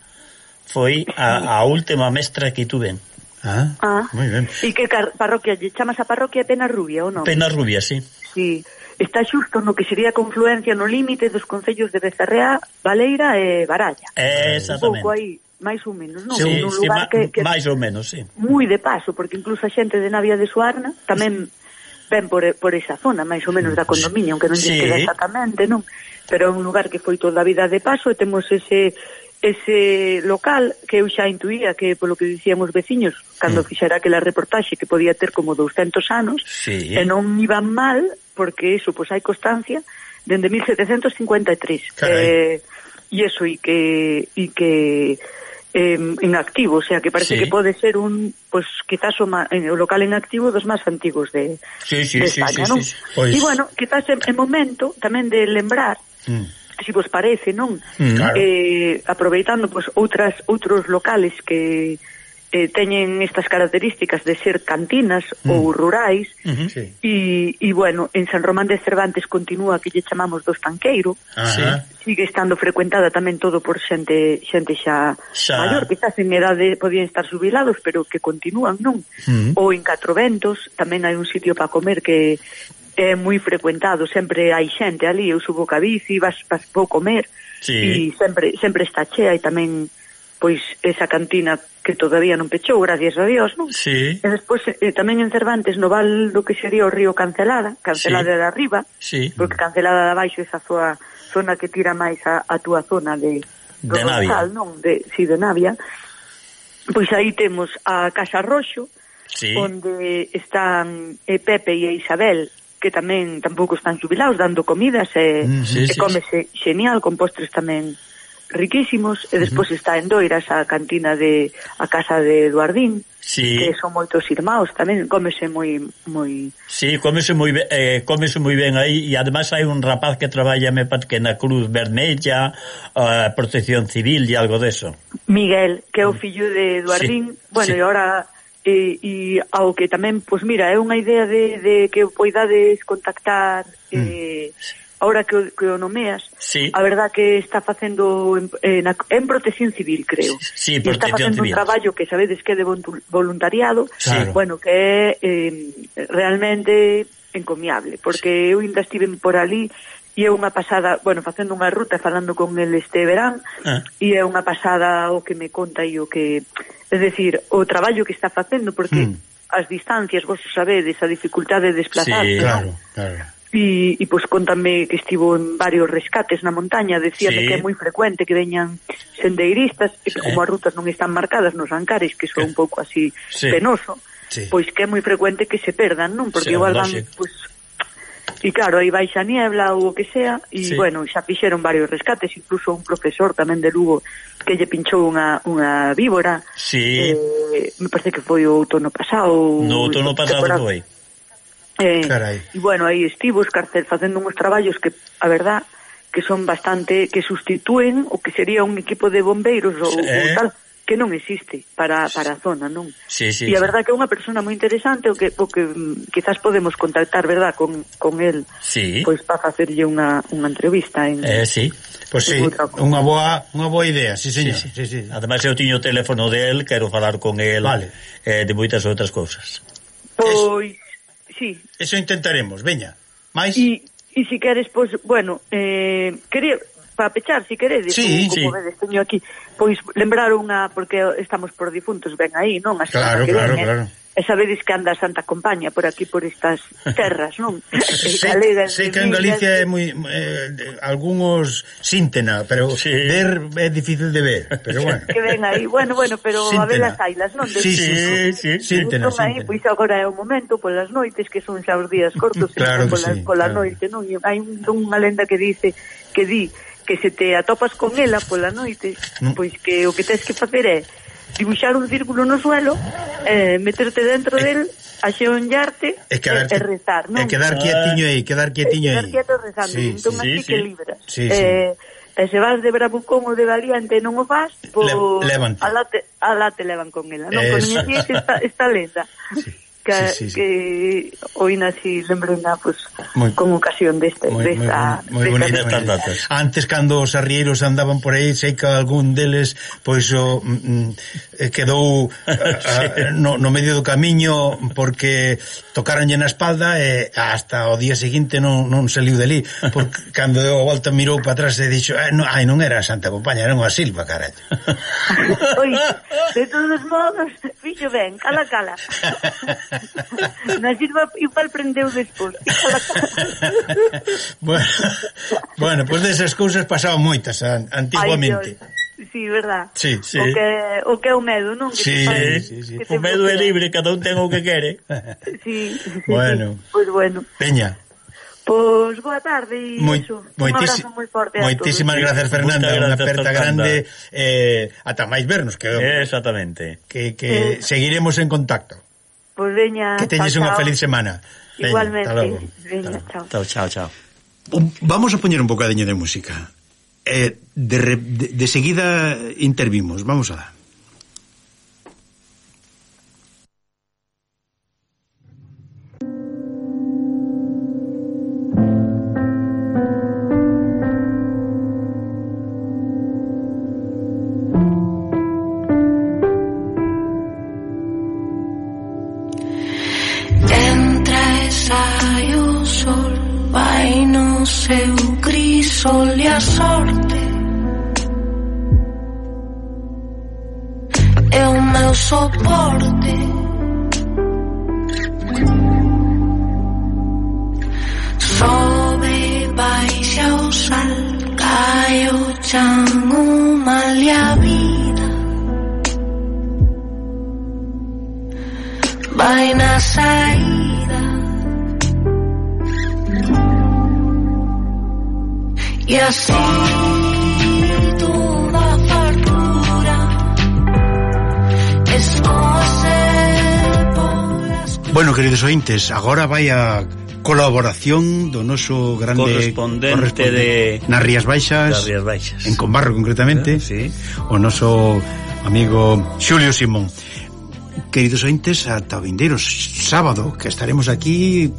foi a, a última mestra que tuve. Ah, ah, moi ben. E que parroquia lle chamas a parroquia Pena Rubia, ou non? Pena Rubia, sí. Sí, está xusto no que sería confluencia no límite dos concellos de Becerrea, Valeira e Baralla. Eh, exactamente. Un pouco aí, máis ou menos, non? Sí, un sí, lugar que, que máis ou menos, sí. Moi de paso, porque incluso a xente de Navia de Suarna tamén ven por, por esa zona, máis ou menos da condominio, aunque non lle sí. queda exactamente, non? Pero é un lugar que foi toda a vida de paso e temos ese... ese local que eu xa intuía que polo que dicían os veciños cando mm. fixera aquela reportaxe que podía ter como douscentos anos, sí. e non iban mal porque eso, pois hai constancia dende mil setecentos cincuenta e tres eh, e eso, e que e que eh, en activo, o sea, que parece sí. que pode ser un, pois quizás o, ma, o local en activo dos máis antigos de, sí, sí, de sí, España, sí, non? sí, sí. Pois... E bueno, quizás é, é momento tamén de lembrar mm. si vos parece, non? Mm, claro. Eh, aproveitando pois outras outros locales que eh, teñen estas características de ser cantinas mm. ou rurais uh-huh. sí. e, e bueno, en San Román de Cervantes continúa que lle chamamos do Estanqueiro uh-huh. sigue estando frecuentada tamén todo por xente xente xa, xa. maior, quizás en edade podían estar jubilados, pero que continúan, non? Uh-huh. Ou en Catro Ventos tamén hai un sitio para comer que é moi frecuentado, sempre hai xente ali, eu subo ca bici, vas, vas vou comer sí. e sempre, sempre está chea e tamén pois esa cantina que todavía non pechou, gracias a Dios, non? Sí. E despois eh, tamén en Cervantes, no val do que sería o río Cancelada, Cancelada sí. de arriba, sí. porque Cancelada de abaixo é esa zona, zona que tira máis a, a túa zona de, de Navia, non? De, si, de Navia. Pois aí temos a Casa Roxo, sí. onde están eh, Pepe e Isabel, que tamén tampouco están jubilados, dando comidas, e, mm, sí, e sí, cómese sí. genial, con postres tamén riquísimos, e despois uh-huh. está en Doiras a cantina de a casa de Eduardín, sí. que son moitos irmãos, tamén cómese moi moi Sí, cómese moi ben, eh, cómese moi ben aí, e además hai un rapaz que traballa me parece na Cruz Vermella, a uh, Protección Civil e algo deso. Miguel, que é o fillo de Eduardín, sí. bueno, sí. e ahora e, e ao que tamén, pois mira, é unha idea de, de que poidades contactar mm. eh ahora que o, que o nomeas, sí. a verdad que está facendo en, en, en Protección Civil, creo. Sí, e está facendo civil. un traballo que sabedes que é de voluntariado, claro. bueno, que é eh, realmente encomiable, porque eu ainda estive por ali e é unha pasada, bueno, facendo unha ruta falando con el este verán, ah. e é unha pasada o que me conta e o que, é decir, o traballo que está facendo, porque mm. as distancias, vos sabedes, a dificultade de desplazarse, sí, claro, claro. E, e pois contame que estivo en varios rescates na montaña, decíame sí. que é moi frecuente que veñan sendeiristas e que sí. como as rutas non están marcadas nos Ancares, que son un pouco así sí. penoso, sí. pois que é moi frecuente que se perdan, non? Porque sí, igual van, pois, e claro, aí baixa niebla ou o que sea, e sí. bueno, xa fixeron varios rescates, incluso un profesor tamén de Lugo que lle pinchou unha, unha víbora, sí. eh, me parece que foi o outono pasado. No outono pasado foi. Eh, e bueno, aí estivo Escarcel facendo uns traballos que, a verdad, que son bastante, que sustitúen o que sería un equipo de bombeiros ou, sí. ou tal, que non existe para, para a zona, non? Sí, sí, e a sí. verdad que é unha persona moi interesante o que, o que mm, quizás podemos contactar, verdad, con, con el, sí. pois para facerlle unha, unha entrevista en, eh, sí. Pois pues sí, unha boa, unha boa idea, sí, señor. Sí, sí. Sí, sí. Ademais eu tiño o teléfono del, quero falar con el vale. eh, de moitas outras cousas. Pois sí. Eso intentaremos, veña. Mais? E, e si queres, pois, bueno, eh, quería, para pechar, si queredes, sí, como, sí. como vedes, teño aquí, pois lembrar unha, porque estamos por difuntos, ven aí, non? A claro, que claro, ven, claro. Eh? E sabedes que anda a Santa Compaña por aquí, por estas terras, non? Sei que en Galicia é moi eh, algúns síntena, pero sí. ver é difícil de ver, pero bueno. Que ven aí, bueno, bueno, pero síntena. A ver as ailas, non? Sí, sí, sí, sí, síntena, síntena. Aí, pois agora é o momento, polas noites, que son xa os días cortos, claro pola, sí, pola claro. noite, non? E hai unha lenda que dice, que di, que se te atopas con ela pola noite, mm. pois que o que tens que facer é dibuixar un círculo no suelo, eh, meterte dentro eh, del, axeonllarte e, e rezar, non? E quedar quietiño aí, quedar quietiño aí. Quedar quieto rezando, sí, entón sí, así sí, que sí. libras. Sí, eh, sí. E se vas de bravucón ou de valiente e non o faz, pois Le, alá te, alá te levan con ela, non? Con inicia que esta, esta lenda. Sí. Que, sí, sí, sí. que hoy nací lembrena pues, muy, con ocasión deste, muy, desta, muy, muy, muy desta bonita, datas. Antes cando os arrieiros andaban por aí, sei que algún deles pois o mm, quedou a, a, no, no medio do camiño porque tocaronlle na espalda e hasta o día seguinte non, non saliu deli, porque cando deu a volta mirou para atrás e dixo ai non, ai, non era a Santa Compaña, era unha silva, carallo. Oi, de todos modos fixo ben, cala cala. Na silva igual prendeu despois. bueno, bueno, pois pues desas cousas pasaban moitas antiguamente. Ay, sí, verdad. Sí, sí. O que o que é o medo, non? Que sí, fai, sí, sí. O medo é libre, cada un ten o que quere. Sí, sí. Bueno. Pois pues bueno. Peña. Pois pues, boa tarde e Moi, iso. Moitis, un abrazo moi forte a moitísimas todos. Gracias, Fernanda, unha aperta grande eh, ata máis vernos que exactamente. Que, que eh. seguiremos en contacto. Pois pues veña, que teñes unha feliz semana. Veña, igualmente. Veña, chao. Chao, chao, chao. Vamos a poñer un bocadiño de música. Eh, de, de, de seguida intervimos, vamos a dar. seu crisol e a sorte é o meu soporte. Sobe, baixa o sal, cai o chan, o mal e a vida vai na saída. E assim toda a fartura escoce polas... Bueno, queridos ointes, agora vai a colaboración do noso grande correspondente, correspondente de nas Rías Baixas, das Rías Baixas, en Combarro concretamente, eh, sí. O noso amigo Xulio Simón. Queridos ointes, ata o vindeiro sábado, que estaremos aquí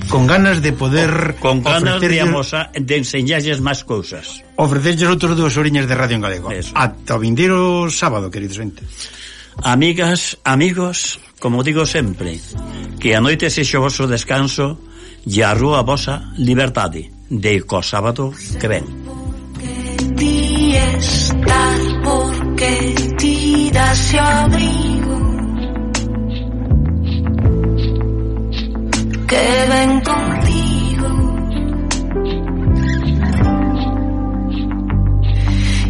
con ganas de poder con ganas de, amosa, de enseñarles máis cousas, ofrecerles outros dúas oriñas de radio en galego. Eso. Ata o vindeiro sábado, queridos ointes. Amigas, amigos, como digo sempre, que a noite sexa o vosso descanso e a rúa vosa liberdade de co sábado que ven. Ti estás porque ti das o abrigo que ven contigo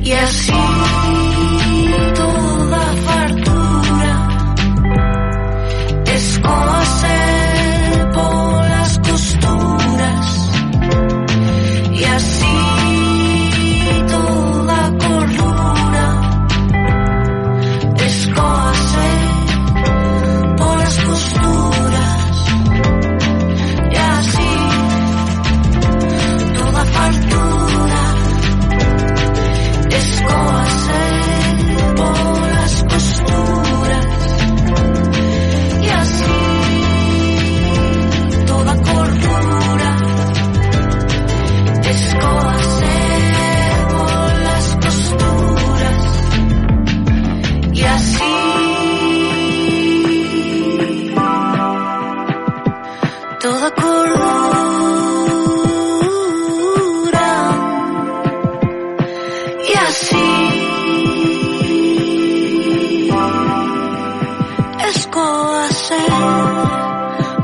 e así toda fartura escoce polas costuras e así toda cordura escoce polas costuras e así toda fartura escoce polas costuras e así toda cordura escoce polas costuras e así toda cordura e así escoce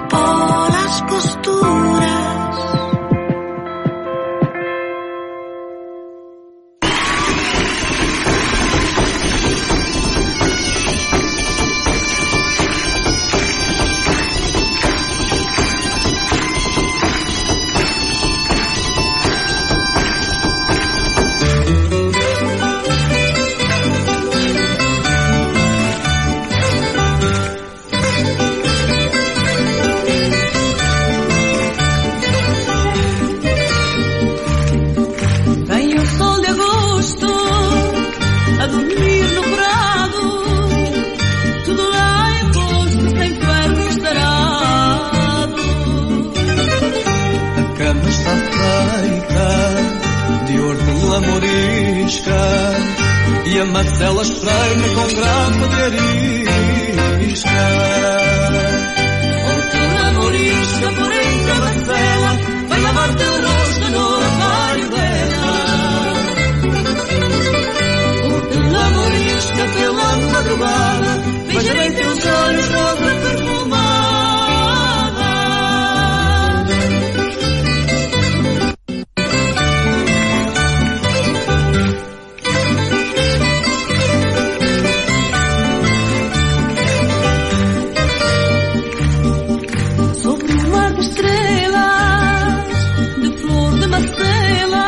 polas costuras. Vem o sol de agosto a dormir no prado, tudo lá em posto sem ferro estarado. A cama está feita de hortelã morisca e a macela estreina com grapa de arisca. Hortelã morisca por entre a macela, vai lavar teu rosto no armário dela. Hortelã morisca pela madrugada, veja bem teus olhos rosa perfumada. Sobre um mar de estrelas, de flor de macela,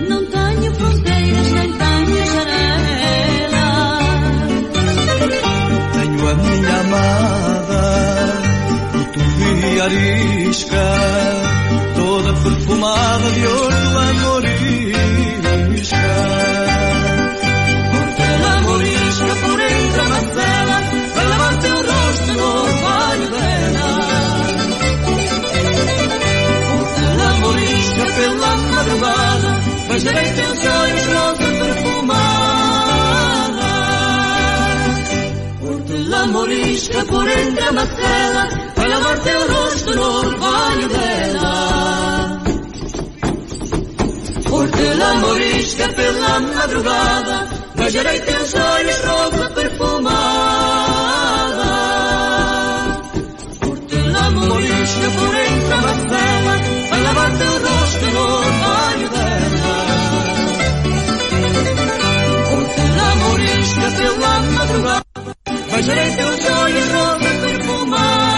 não tenho fronteiras nem tenho janelas. Tenho a minha amada, de arisca, toda perfumada de hortelã morisca. Hortelã morisca por entre a macela, vai lavar teu rosto no orvalho dela. Hortelã morisca pela madrugada, veja bem teus olhos rosa perfumada. Hortelã morisca por entre a macela, vai lavar teu rosto no orvalho dela. madrugada, beijarei teus olhos rosa perfumada. Por-te la morisca por entre a macela, vai lavar teu rosto no orvalho dela. Por-te la morisca pela madrugada, beijarei teus olhos rosa perfumada.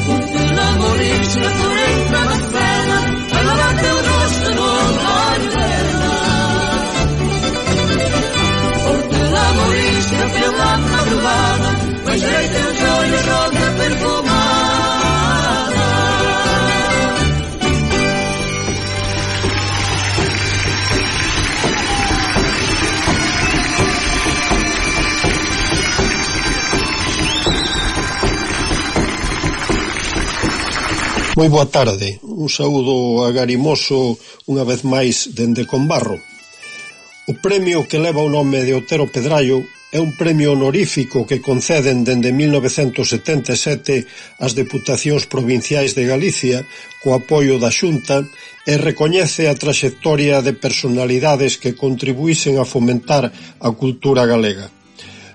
Por-te la morisca por entre a macela, vai lavar teu rosto no orvalho dela. Por-te la morisca pela madrugada, beijarei teus olhos rosa perfumada. Moi boa tarde, un saúdo agarimoso unha vez máis dende Combarro. O premio que leva o nome de Otero Pedraio é un premio honorífico que conceden dende mil novecentos setenta e sete as Deputacións Provinciais de Galicia co apoio da Xunta e recoñece a traxectoria de personalidades que contribuísen a fomentar a cultura galega.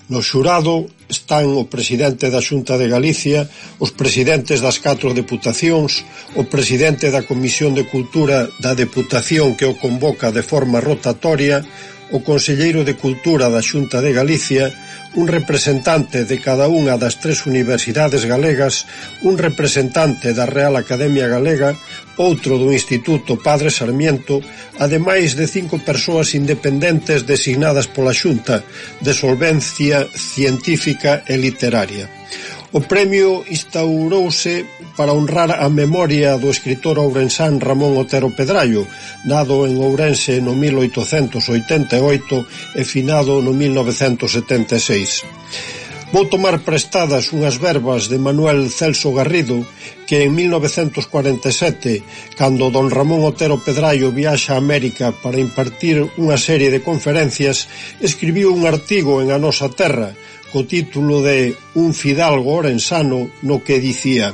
No xurado están o presidente da Xunta de Galicia, os presidentes das catro deputacións, o presidente da Comisión de Cultura da Deputación que o convoca de forma rotatoria, o conselleiro de Cultura da Xunta de Galicia, un representante de cada unha das tres universidades galegas, un representante da Real Academia Galega, outro do Instituto Padre Sarmiento, ademais de cinco persoas independentes designadas pola Xunta, de solvencia científica e literaria. O premio instaurouse para honrar a memoria do escritor ourensán Ramón Otero Pedraio, nado en Ourense no mil oitocentos oitenta e oito e finado no mil novecentos setenta e seis. Vou tomar prestadas unhas verbas de Manuel Celso Garrido, que en mil novecentos cuarenta e sete, cando don Ramón Otero Pedraio viaxa a América para impartir unha serie de conferencias, escribiu un artigo en A Nosa Terra, co título de Un fidalgo orensano, no que dicía: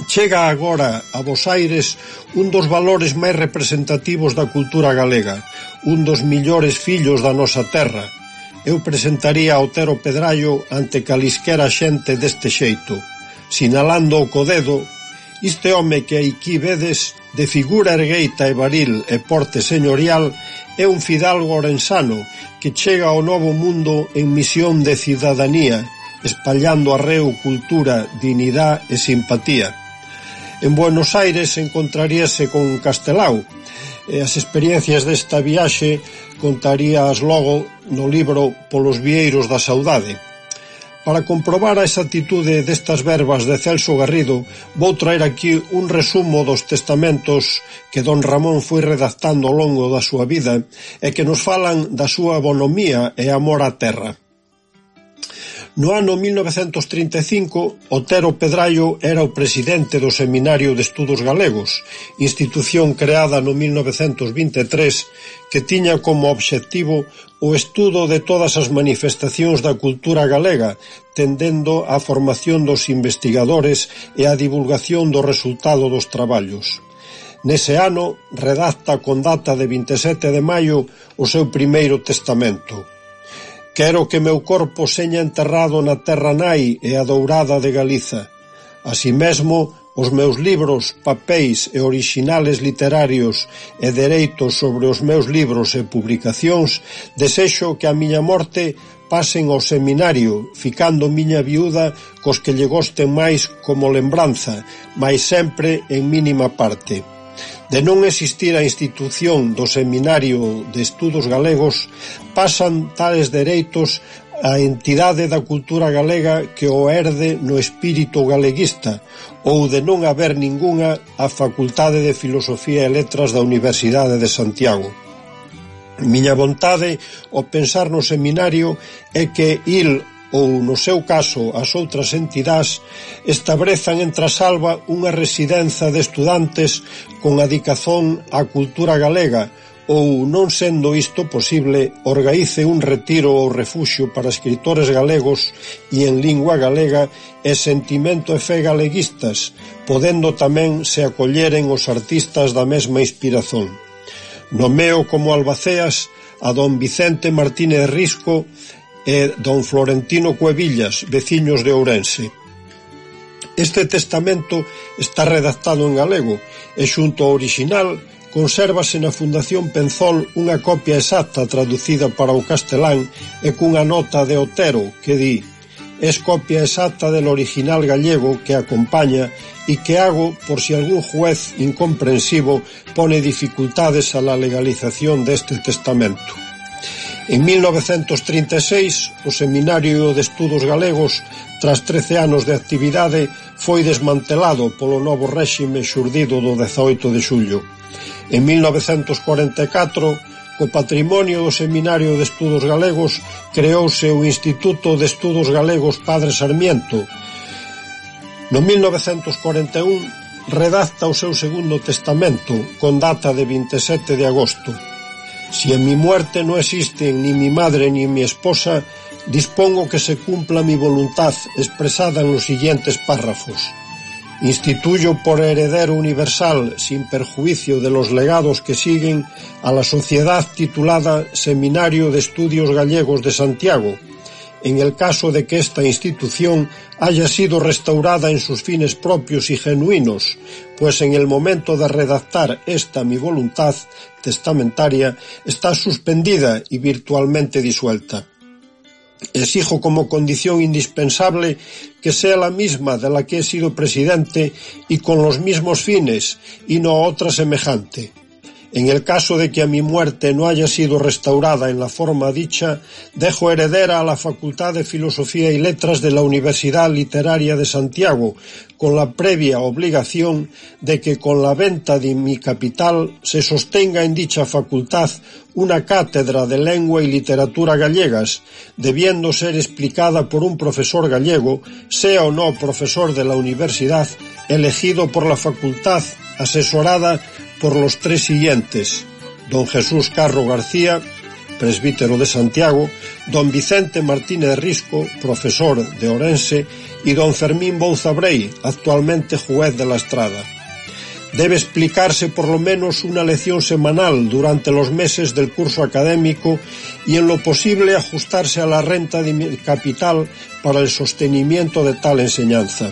chega agora a Bos Aires un dos valores máis representativos da cultura galega, un dos millores fillos da nosa terra. Eu presentaría a Otero Pedraio ante calisquera xente deste xeito, sinalando o co dedo: este home que aquí vedes, de figura ergueita e varil e porte señorial, é un fidalgo orensano que chega ao novo mundo en misión de cidadanía, espallando arreo, cultura, dignidade e simpatía. En Buenos Aires encontraríase con Castelao, e as experiencias desta viaxe contarías logo no libro Polos vieiros da saudade. Para comprobar a exactitude destas verbas de Celso Garrido, vou traer aquí un resumo dos testamentos que don Ramón foi redactando ao longo da súa vida e que nos falan da súa bonomía e amor á terra. No ano mil novecentos trinta e cinco, Otero Pedraio era o presidente do Seminario de Estudos Galegos, institución creada no mil novecentos vinte e tres, que tiña como obxectivo o estudo de todas as manifestacións da cultura galega, tendendo á formación dos investigadores e á divulgación do resultado dos traballos. Nese ano, redacta con data de vinte e sete de maio o seu primeiro testamento. Quero que meu corpo seña enterrado na terra nai e adourada de Galiza. Así mesmo, os meus libros, papéis e orixinales literarios e dereitos sobre os meus libros e publicacións, desexo que a miña morte pasen ao seminario, ficando miña viúda cos que lle gosten máis como lembranza, mais sempre en mínima parte. De non existir a institución do Seminario de Estudos Galegos, pasan tales dereitos a entidade da cultura galega que o herde no espírito galeguista, ou de non haber ningunha a Facultade de Filosofía e Letras da Universidade de Santiago. Miña vontade ao pensar no seminario é que il ou, no seu caso, as outras entidades establezan en Trasalba unha residenza de estudantes con adicazón á cultura galega ou, non sendo isto posible, organice un retiro ou refuxio para escritores galegos e en lingua galega e sentimento e fe galeguistas, podendo tamén se acolleren os artistas da mesma inspiración. Nomeo como albaceas a don Vicente Martínez Risco e don Florentino Cuevillas, veciños de Ourense. Este testamento está redactado en galego e xunto ao orixinal consérvase na Fundación Penzol unha copia exacta traducida para o castelán e cunha nota de Otero que di: es copia exacta del original gallego que acompaña e que hago por si algún juez incomprensivo pone dificultades a la legalización deste testamento. En mil novecentos trinta e seis, o Seminario de Estudos Galegos, tras trece anos de actividade, foi desmantelado polo novo réxime xurdido do dezaoito de xullo. En mil novecentos cuarenta e catro, co patrimonio do Seminario de Estudos Galegos, creouse o Instituto de Estudos Galegos Padre Sarmiento. No mil novecentos cuarenta e un, redacta o seu segundo testamento, con data de vinte e sete de agosto. Si en mi muerte no existen ni mi madre ni mi esposa, dispongo que se cumpla mi voluntad expresada en los siguientes párrafos. Instituyo por heredero universal, sin perjuicio de los legados que siguen, a la sociedad titulada Seminario de Estudios Gallegos de Santiago, en el caso de que esta institución haya sido restaurada en sus fines propios y genuinos, pues en el momento de redactar esta mi voluntad testamentaria está suspendida y virtualmente disuelta. Exijo como condición indispensable que sea la misma de la que he sido presidente y con los mismos fines, y no otra semejante. En el caso de que a mi muerte no haya sido restaurada en la forma dicha, dejo heredera a la Facultad de Filosofía y Letras de la Universidad Literaria de Santiago, con la previa obligación de que con la venta de mi capital se sostenga en dicha facultad una cátedra de lengua y literatura gallegas, debiendo ser explicada por un profesor gallego, sea o no profesor de la universidad, elegido por la facultad, asesorada por los tres siguientes: don Jesús Carro García, presbítero de Santiago, don Vicente Martínez Risco, profesor de Ourense, y don Fermín Bouza Brey, actualmente juez de la Estrada. Debe explicarse por lo menos una lección semanal durante los meses del curso académico y en lo posible ajustarse a la renta de capital para el sostenimiento de tal enseñanza.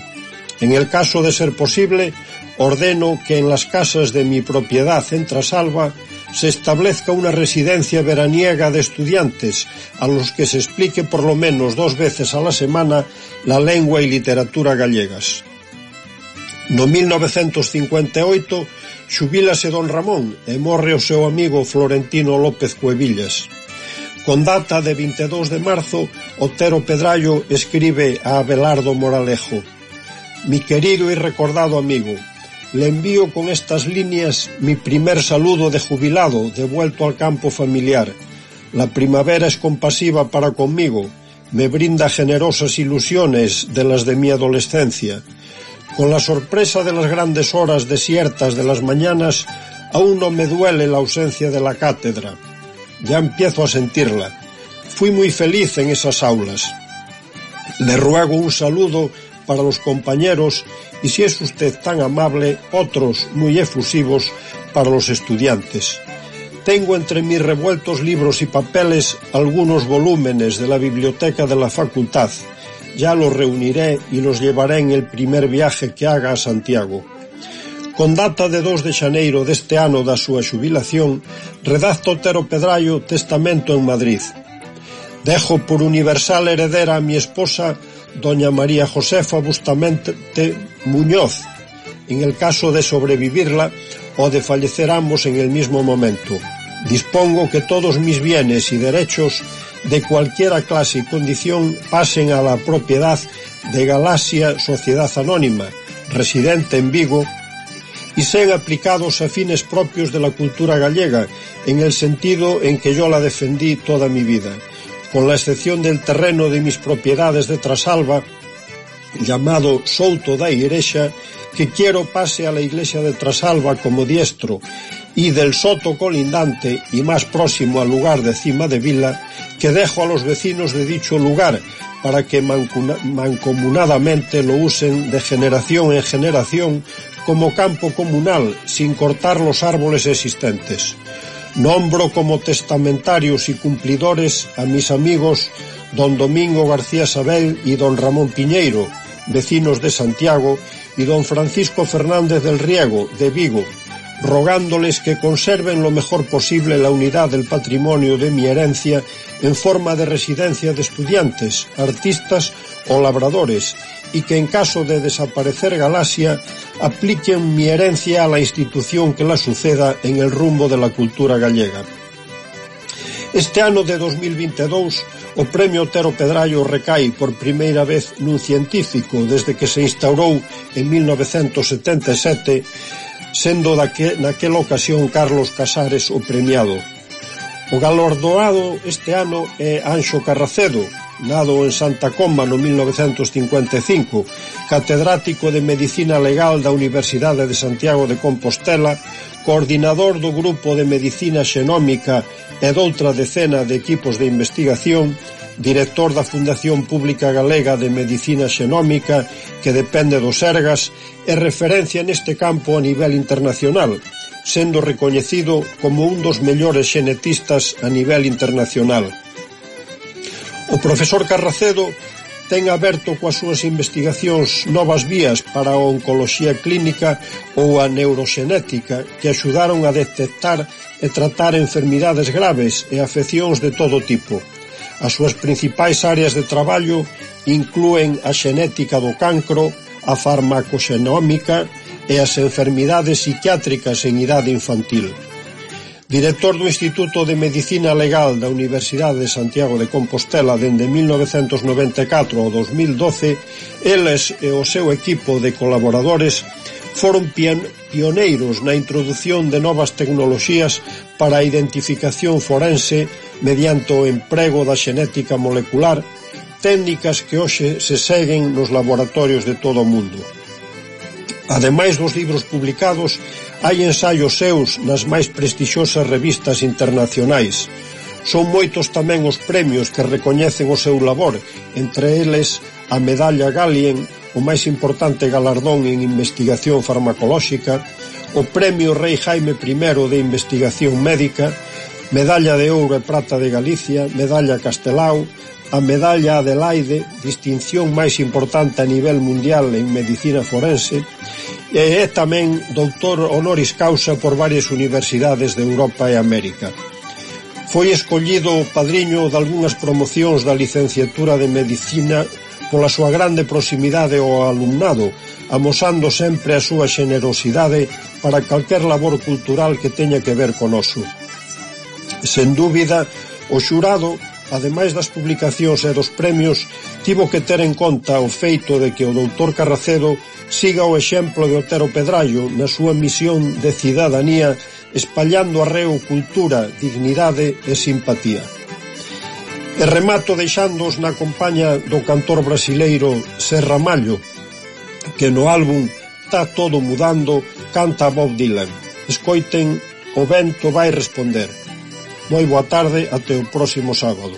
En el caso de ser posible, ordeno que en las casas de mi propiedad en Trasalba se establezca una residencia veraniega de estudiantes a los que se explique por lo menos dos veces a la semana la lengua y literatura gallegas. No mil novecentos cincuenta e oito xubílase don Ramón e morre o seu amigo Florentino López Cuevillas. Con data de vinte e dous de marzo, Otero Pedrallo escribe a Abelardo Moralejo: mi querido y recordado amigo, le envío con estas líneas mi primer saludo de jubilado devuelto al campo familiar. La primavera es compasiva para conmigo, me brinda generosas ilusiones de las de mi adolescencia. Con la sorpresa de las grandes horas desiertas de las mañanas, aún no me duele la ausencia de la cátedra. Ya empiezo a sentirla. Fui muy feliz en esas aulas. Le ruego un saludo para los compañeros y, si es usted tan amable, otros muy efusivos para los estudiantes. Tengo entre mis revueltos libros y papeles algunos volúmenes de la biblioteca de la facultad. Ya los reuniré y los llevaré en el primer viaje que haga a Santiago. Con data de dos de xaneiro deste ano da súa xubilación, redacta Otero Pedrallo testamento en Madrid. Dejo por universal heredera a mi esposa, doña María Josefa Bustamante Muñoz, en el caso de sobrevivirla o de fallecer ambos en el mismo momento. Dispongo que todos mis bienes y derechos de cualquiera clase y condición pasen a la propiedad de Galaxia Sociedad Anónima, residente en Vigo, y sean aplicados a fines propios de la cultura gallega, en el sentido en que yo la defendí toda mi vida, con la excepción del terreno de mis propiedades de Trasalba, llamado Souto da Igrexa, que quiero pase a la iglesia de Trasalba como diestro, y del soto colindante y más próximo al lugar de Cima de Vila, que dejo a los vecinos de dicho lugar para que mancomunadamente lo usen de generación en generación como campo comunal, sin cortar los árboles existentes. Nombro como testamentarios y cumplidores a mis amigos don Domingo García Sabel y don Ramón Piñeiro, vecinos de Santiago, y don Francisco Fernández del Riego, de Vigo, rogándoles que conserven lo mejor posible la unidad del patrimonio de mi herencia en forma de residencia de estudiantes, artistas o labradores, y que en caso de desaparecer Galaxia apliquen mi herencia a la institución que la suceda en el rumbo de la cultura gallega. Este ano de dos mil veintidós o Premio Otero Pedrallo recai por primeira vez nun científico desde que se instaurou en mil novecentos setenta e sete, sendo daque, naquela ocasión Carlos Casares o premiado. O galardoado este ano é Anxo Carracedo, nado en Santa Comba no mil novecentos cincuenta e cinco, catedrático de Medicina Legal da Universidade de Santiago de Compostela, coordinador do Grupo de Medicina Xenómica e doutra decena de equipos de investigación, director da Fundación Pública Galega de Medicina Xenómica, que depende do Sergas, e referencia neste campo a nivel internacional, sendo recoñecido como un dos mellores xenetistas a nivel internacional. O profesor Carracedo ten aberto coas súas investigacións novas vías para a oncoloxía clínica ou a neuroxenética que axudaron a detectar e tratar enfermidades graves e afeccións de todo tipo. As súas principais áreas de traballo inclúen a xenética do cancro, a farmacoxenómica e as enfermidades psiquiátricas en idade infantil. Director do Instituto de Medicina Legal da Universidade de Santiago de Compostela dende mil novecentos noventa e catro ao dos mil doce, eles e o seu equipo de colaboradores foron pioneiros na introdución de novas tecnoloxías para a identificación forense mediante o emprego da xenética molecular, técnicas que hoxe se seguen nos laboratorios de todo o mundo. Ademais dos libros publicados, hai ensaios seus nas máis prestixiosas revistas internacionais. Son moitos tamén os premios que recoñecen o seu labor, entre eles a Medalla Galien, o máis importante galardón en investigación farmacolóxica, o Premio Rei Jaime I de Investigación Médica, Medalla de Ouro e Prata de Galicia, Medalla Castelao, a Medalla Adelaide, distinción máis importante a nivel mundial en medicina forense, e é tamén doutor honoris causa por varias universidades de Europa e América. Foi escollido padriño de algunhas promocións da licenciatura de Medicina pola súa grande proximidade ao alumnado, amosando sempre a súa xenerosidade para calquer labor cultural que teña que ver con oso. Sen dúbida, o xurado, ademais das publicacións e dos premios, tivo que ter en conta o feito de que o doutor Carracedo siga o exemplo de Otero Pedrallo na súa misión de cidadanía, espallando arreo cultura, dignidade e simpatía. E remato deixándoos na compaña do cantor brasileiro Serra Mallo, que no álbum Tá todo mudando canta Bob Dylan. Escoiten O vento vai responder. Moi boa tarde, até o próximo sábado.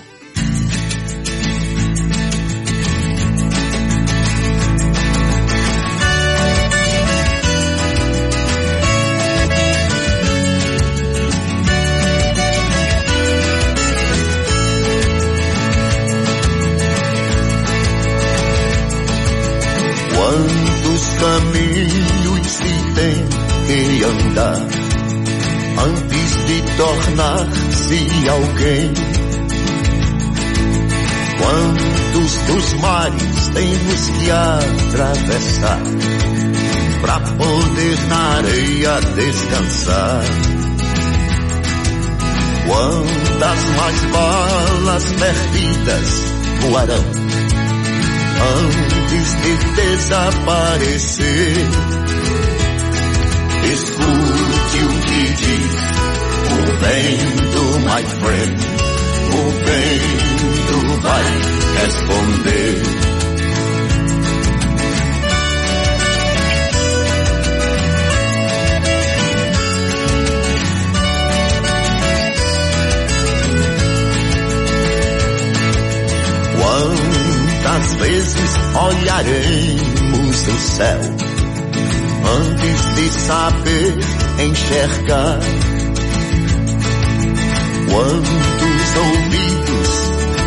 Quantos caminhos se tem que andar antes de tornar-se alguém? Quantos dos mares temos que atravessar pra poder na areia descansar? Quantas mais balas perdidas voarão antes de desaparecer? Escute o que diz o vento, my friend. O vento vai responder. Quantas vezes olharemos o céu antes de saber enxergar? Quantos ouvidos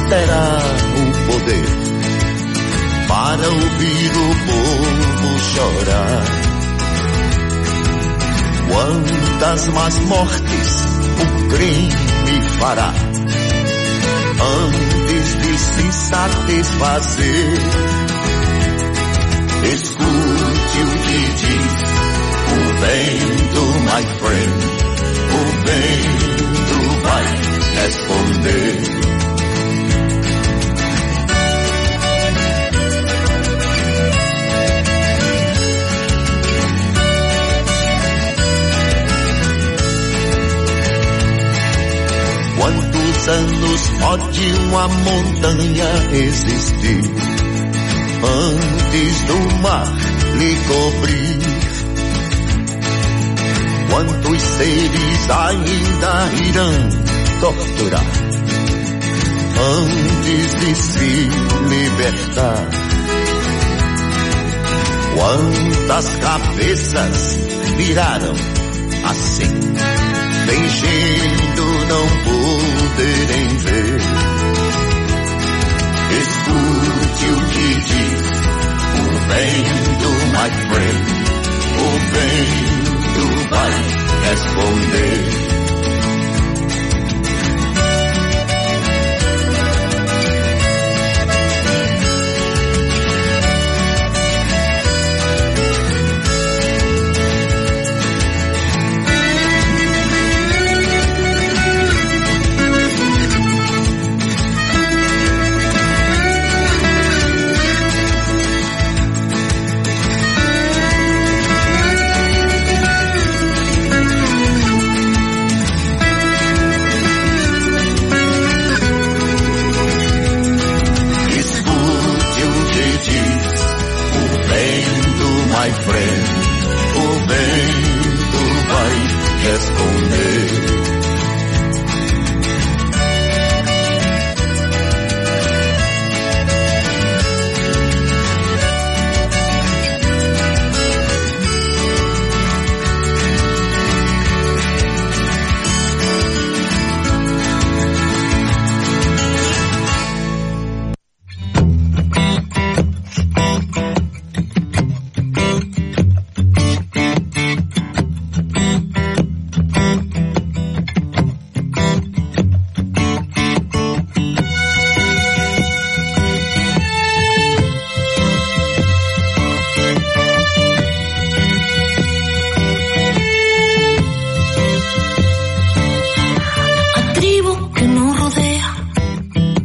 terá o poder para ouvir o povo chorar? Quantas mais mortes o crime fará antes de se satisfazer? Escute o que diz o vento, my friend. O vento vai responder. Quantos anos pode uma montanha existir antes do mar lhe cobrir? Quantos seres ainda irão torturar antes de se libertar? Quantas cabeças viraram assim, fingindo não poderem ver? Escute o que diz o vento, my friend. O vento vai responder. My friend, o vento vai responder.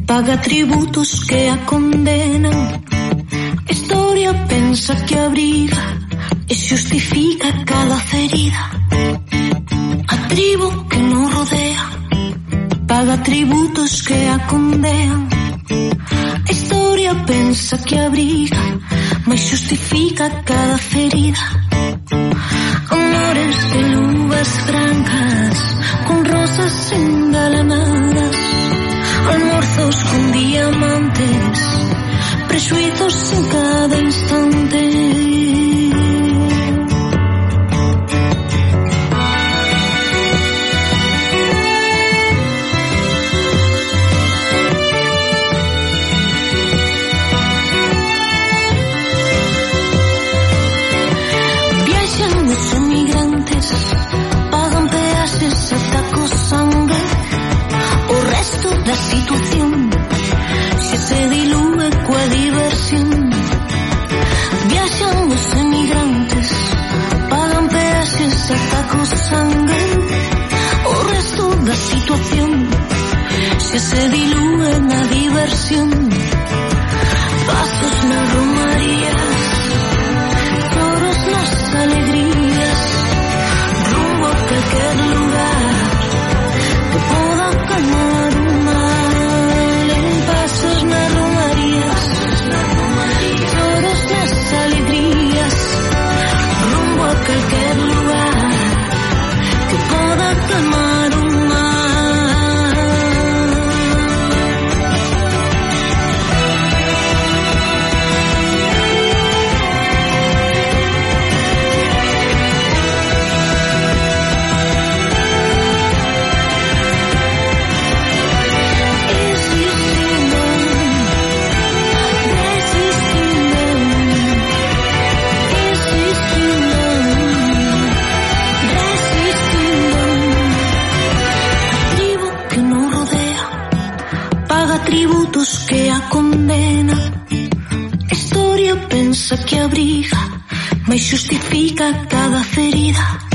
Paga tributos que a condenan. Historia pensa que abriga e justifica cada ferida. A tribu que nos rodea paga tributos que a condenan. Historia pensa que abriga, mas justifica cada ferida. Amores de luvas francas con rosas engalanadas, almuerzos con diamantes, prejuicios en cada instante. Viajan los emigrantes, pagan peajes ata co sangue, o resto da situación se se dilúe coa diversión. Viaxan os emigrantes, pagan peaxes ata co sangue, o resto da situación se se dilúe na diversión. Pasos nas romarías, toros nas alegrías, rumbo a calquer lugar que poda calmar o mal. En pasos nas romarías, toros nas alegrías, rumbo a calquer lugar atributos que a condena. A historia pensa que abriga, mais xustifica cada ferida.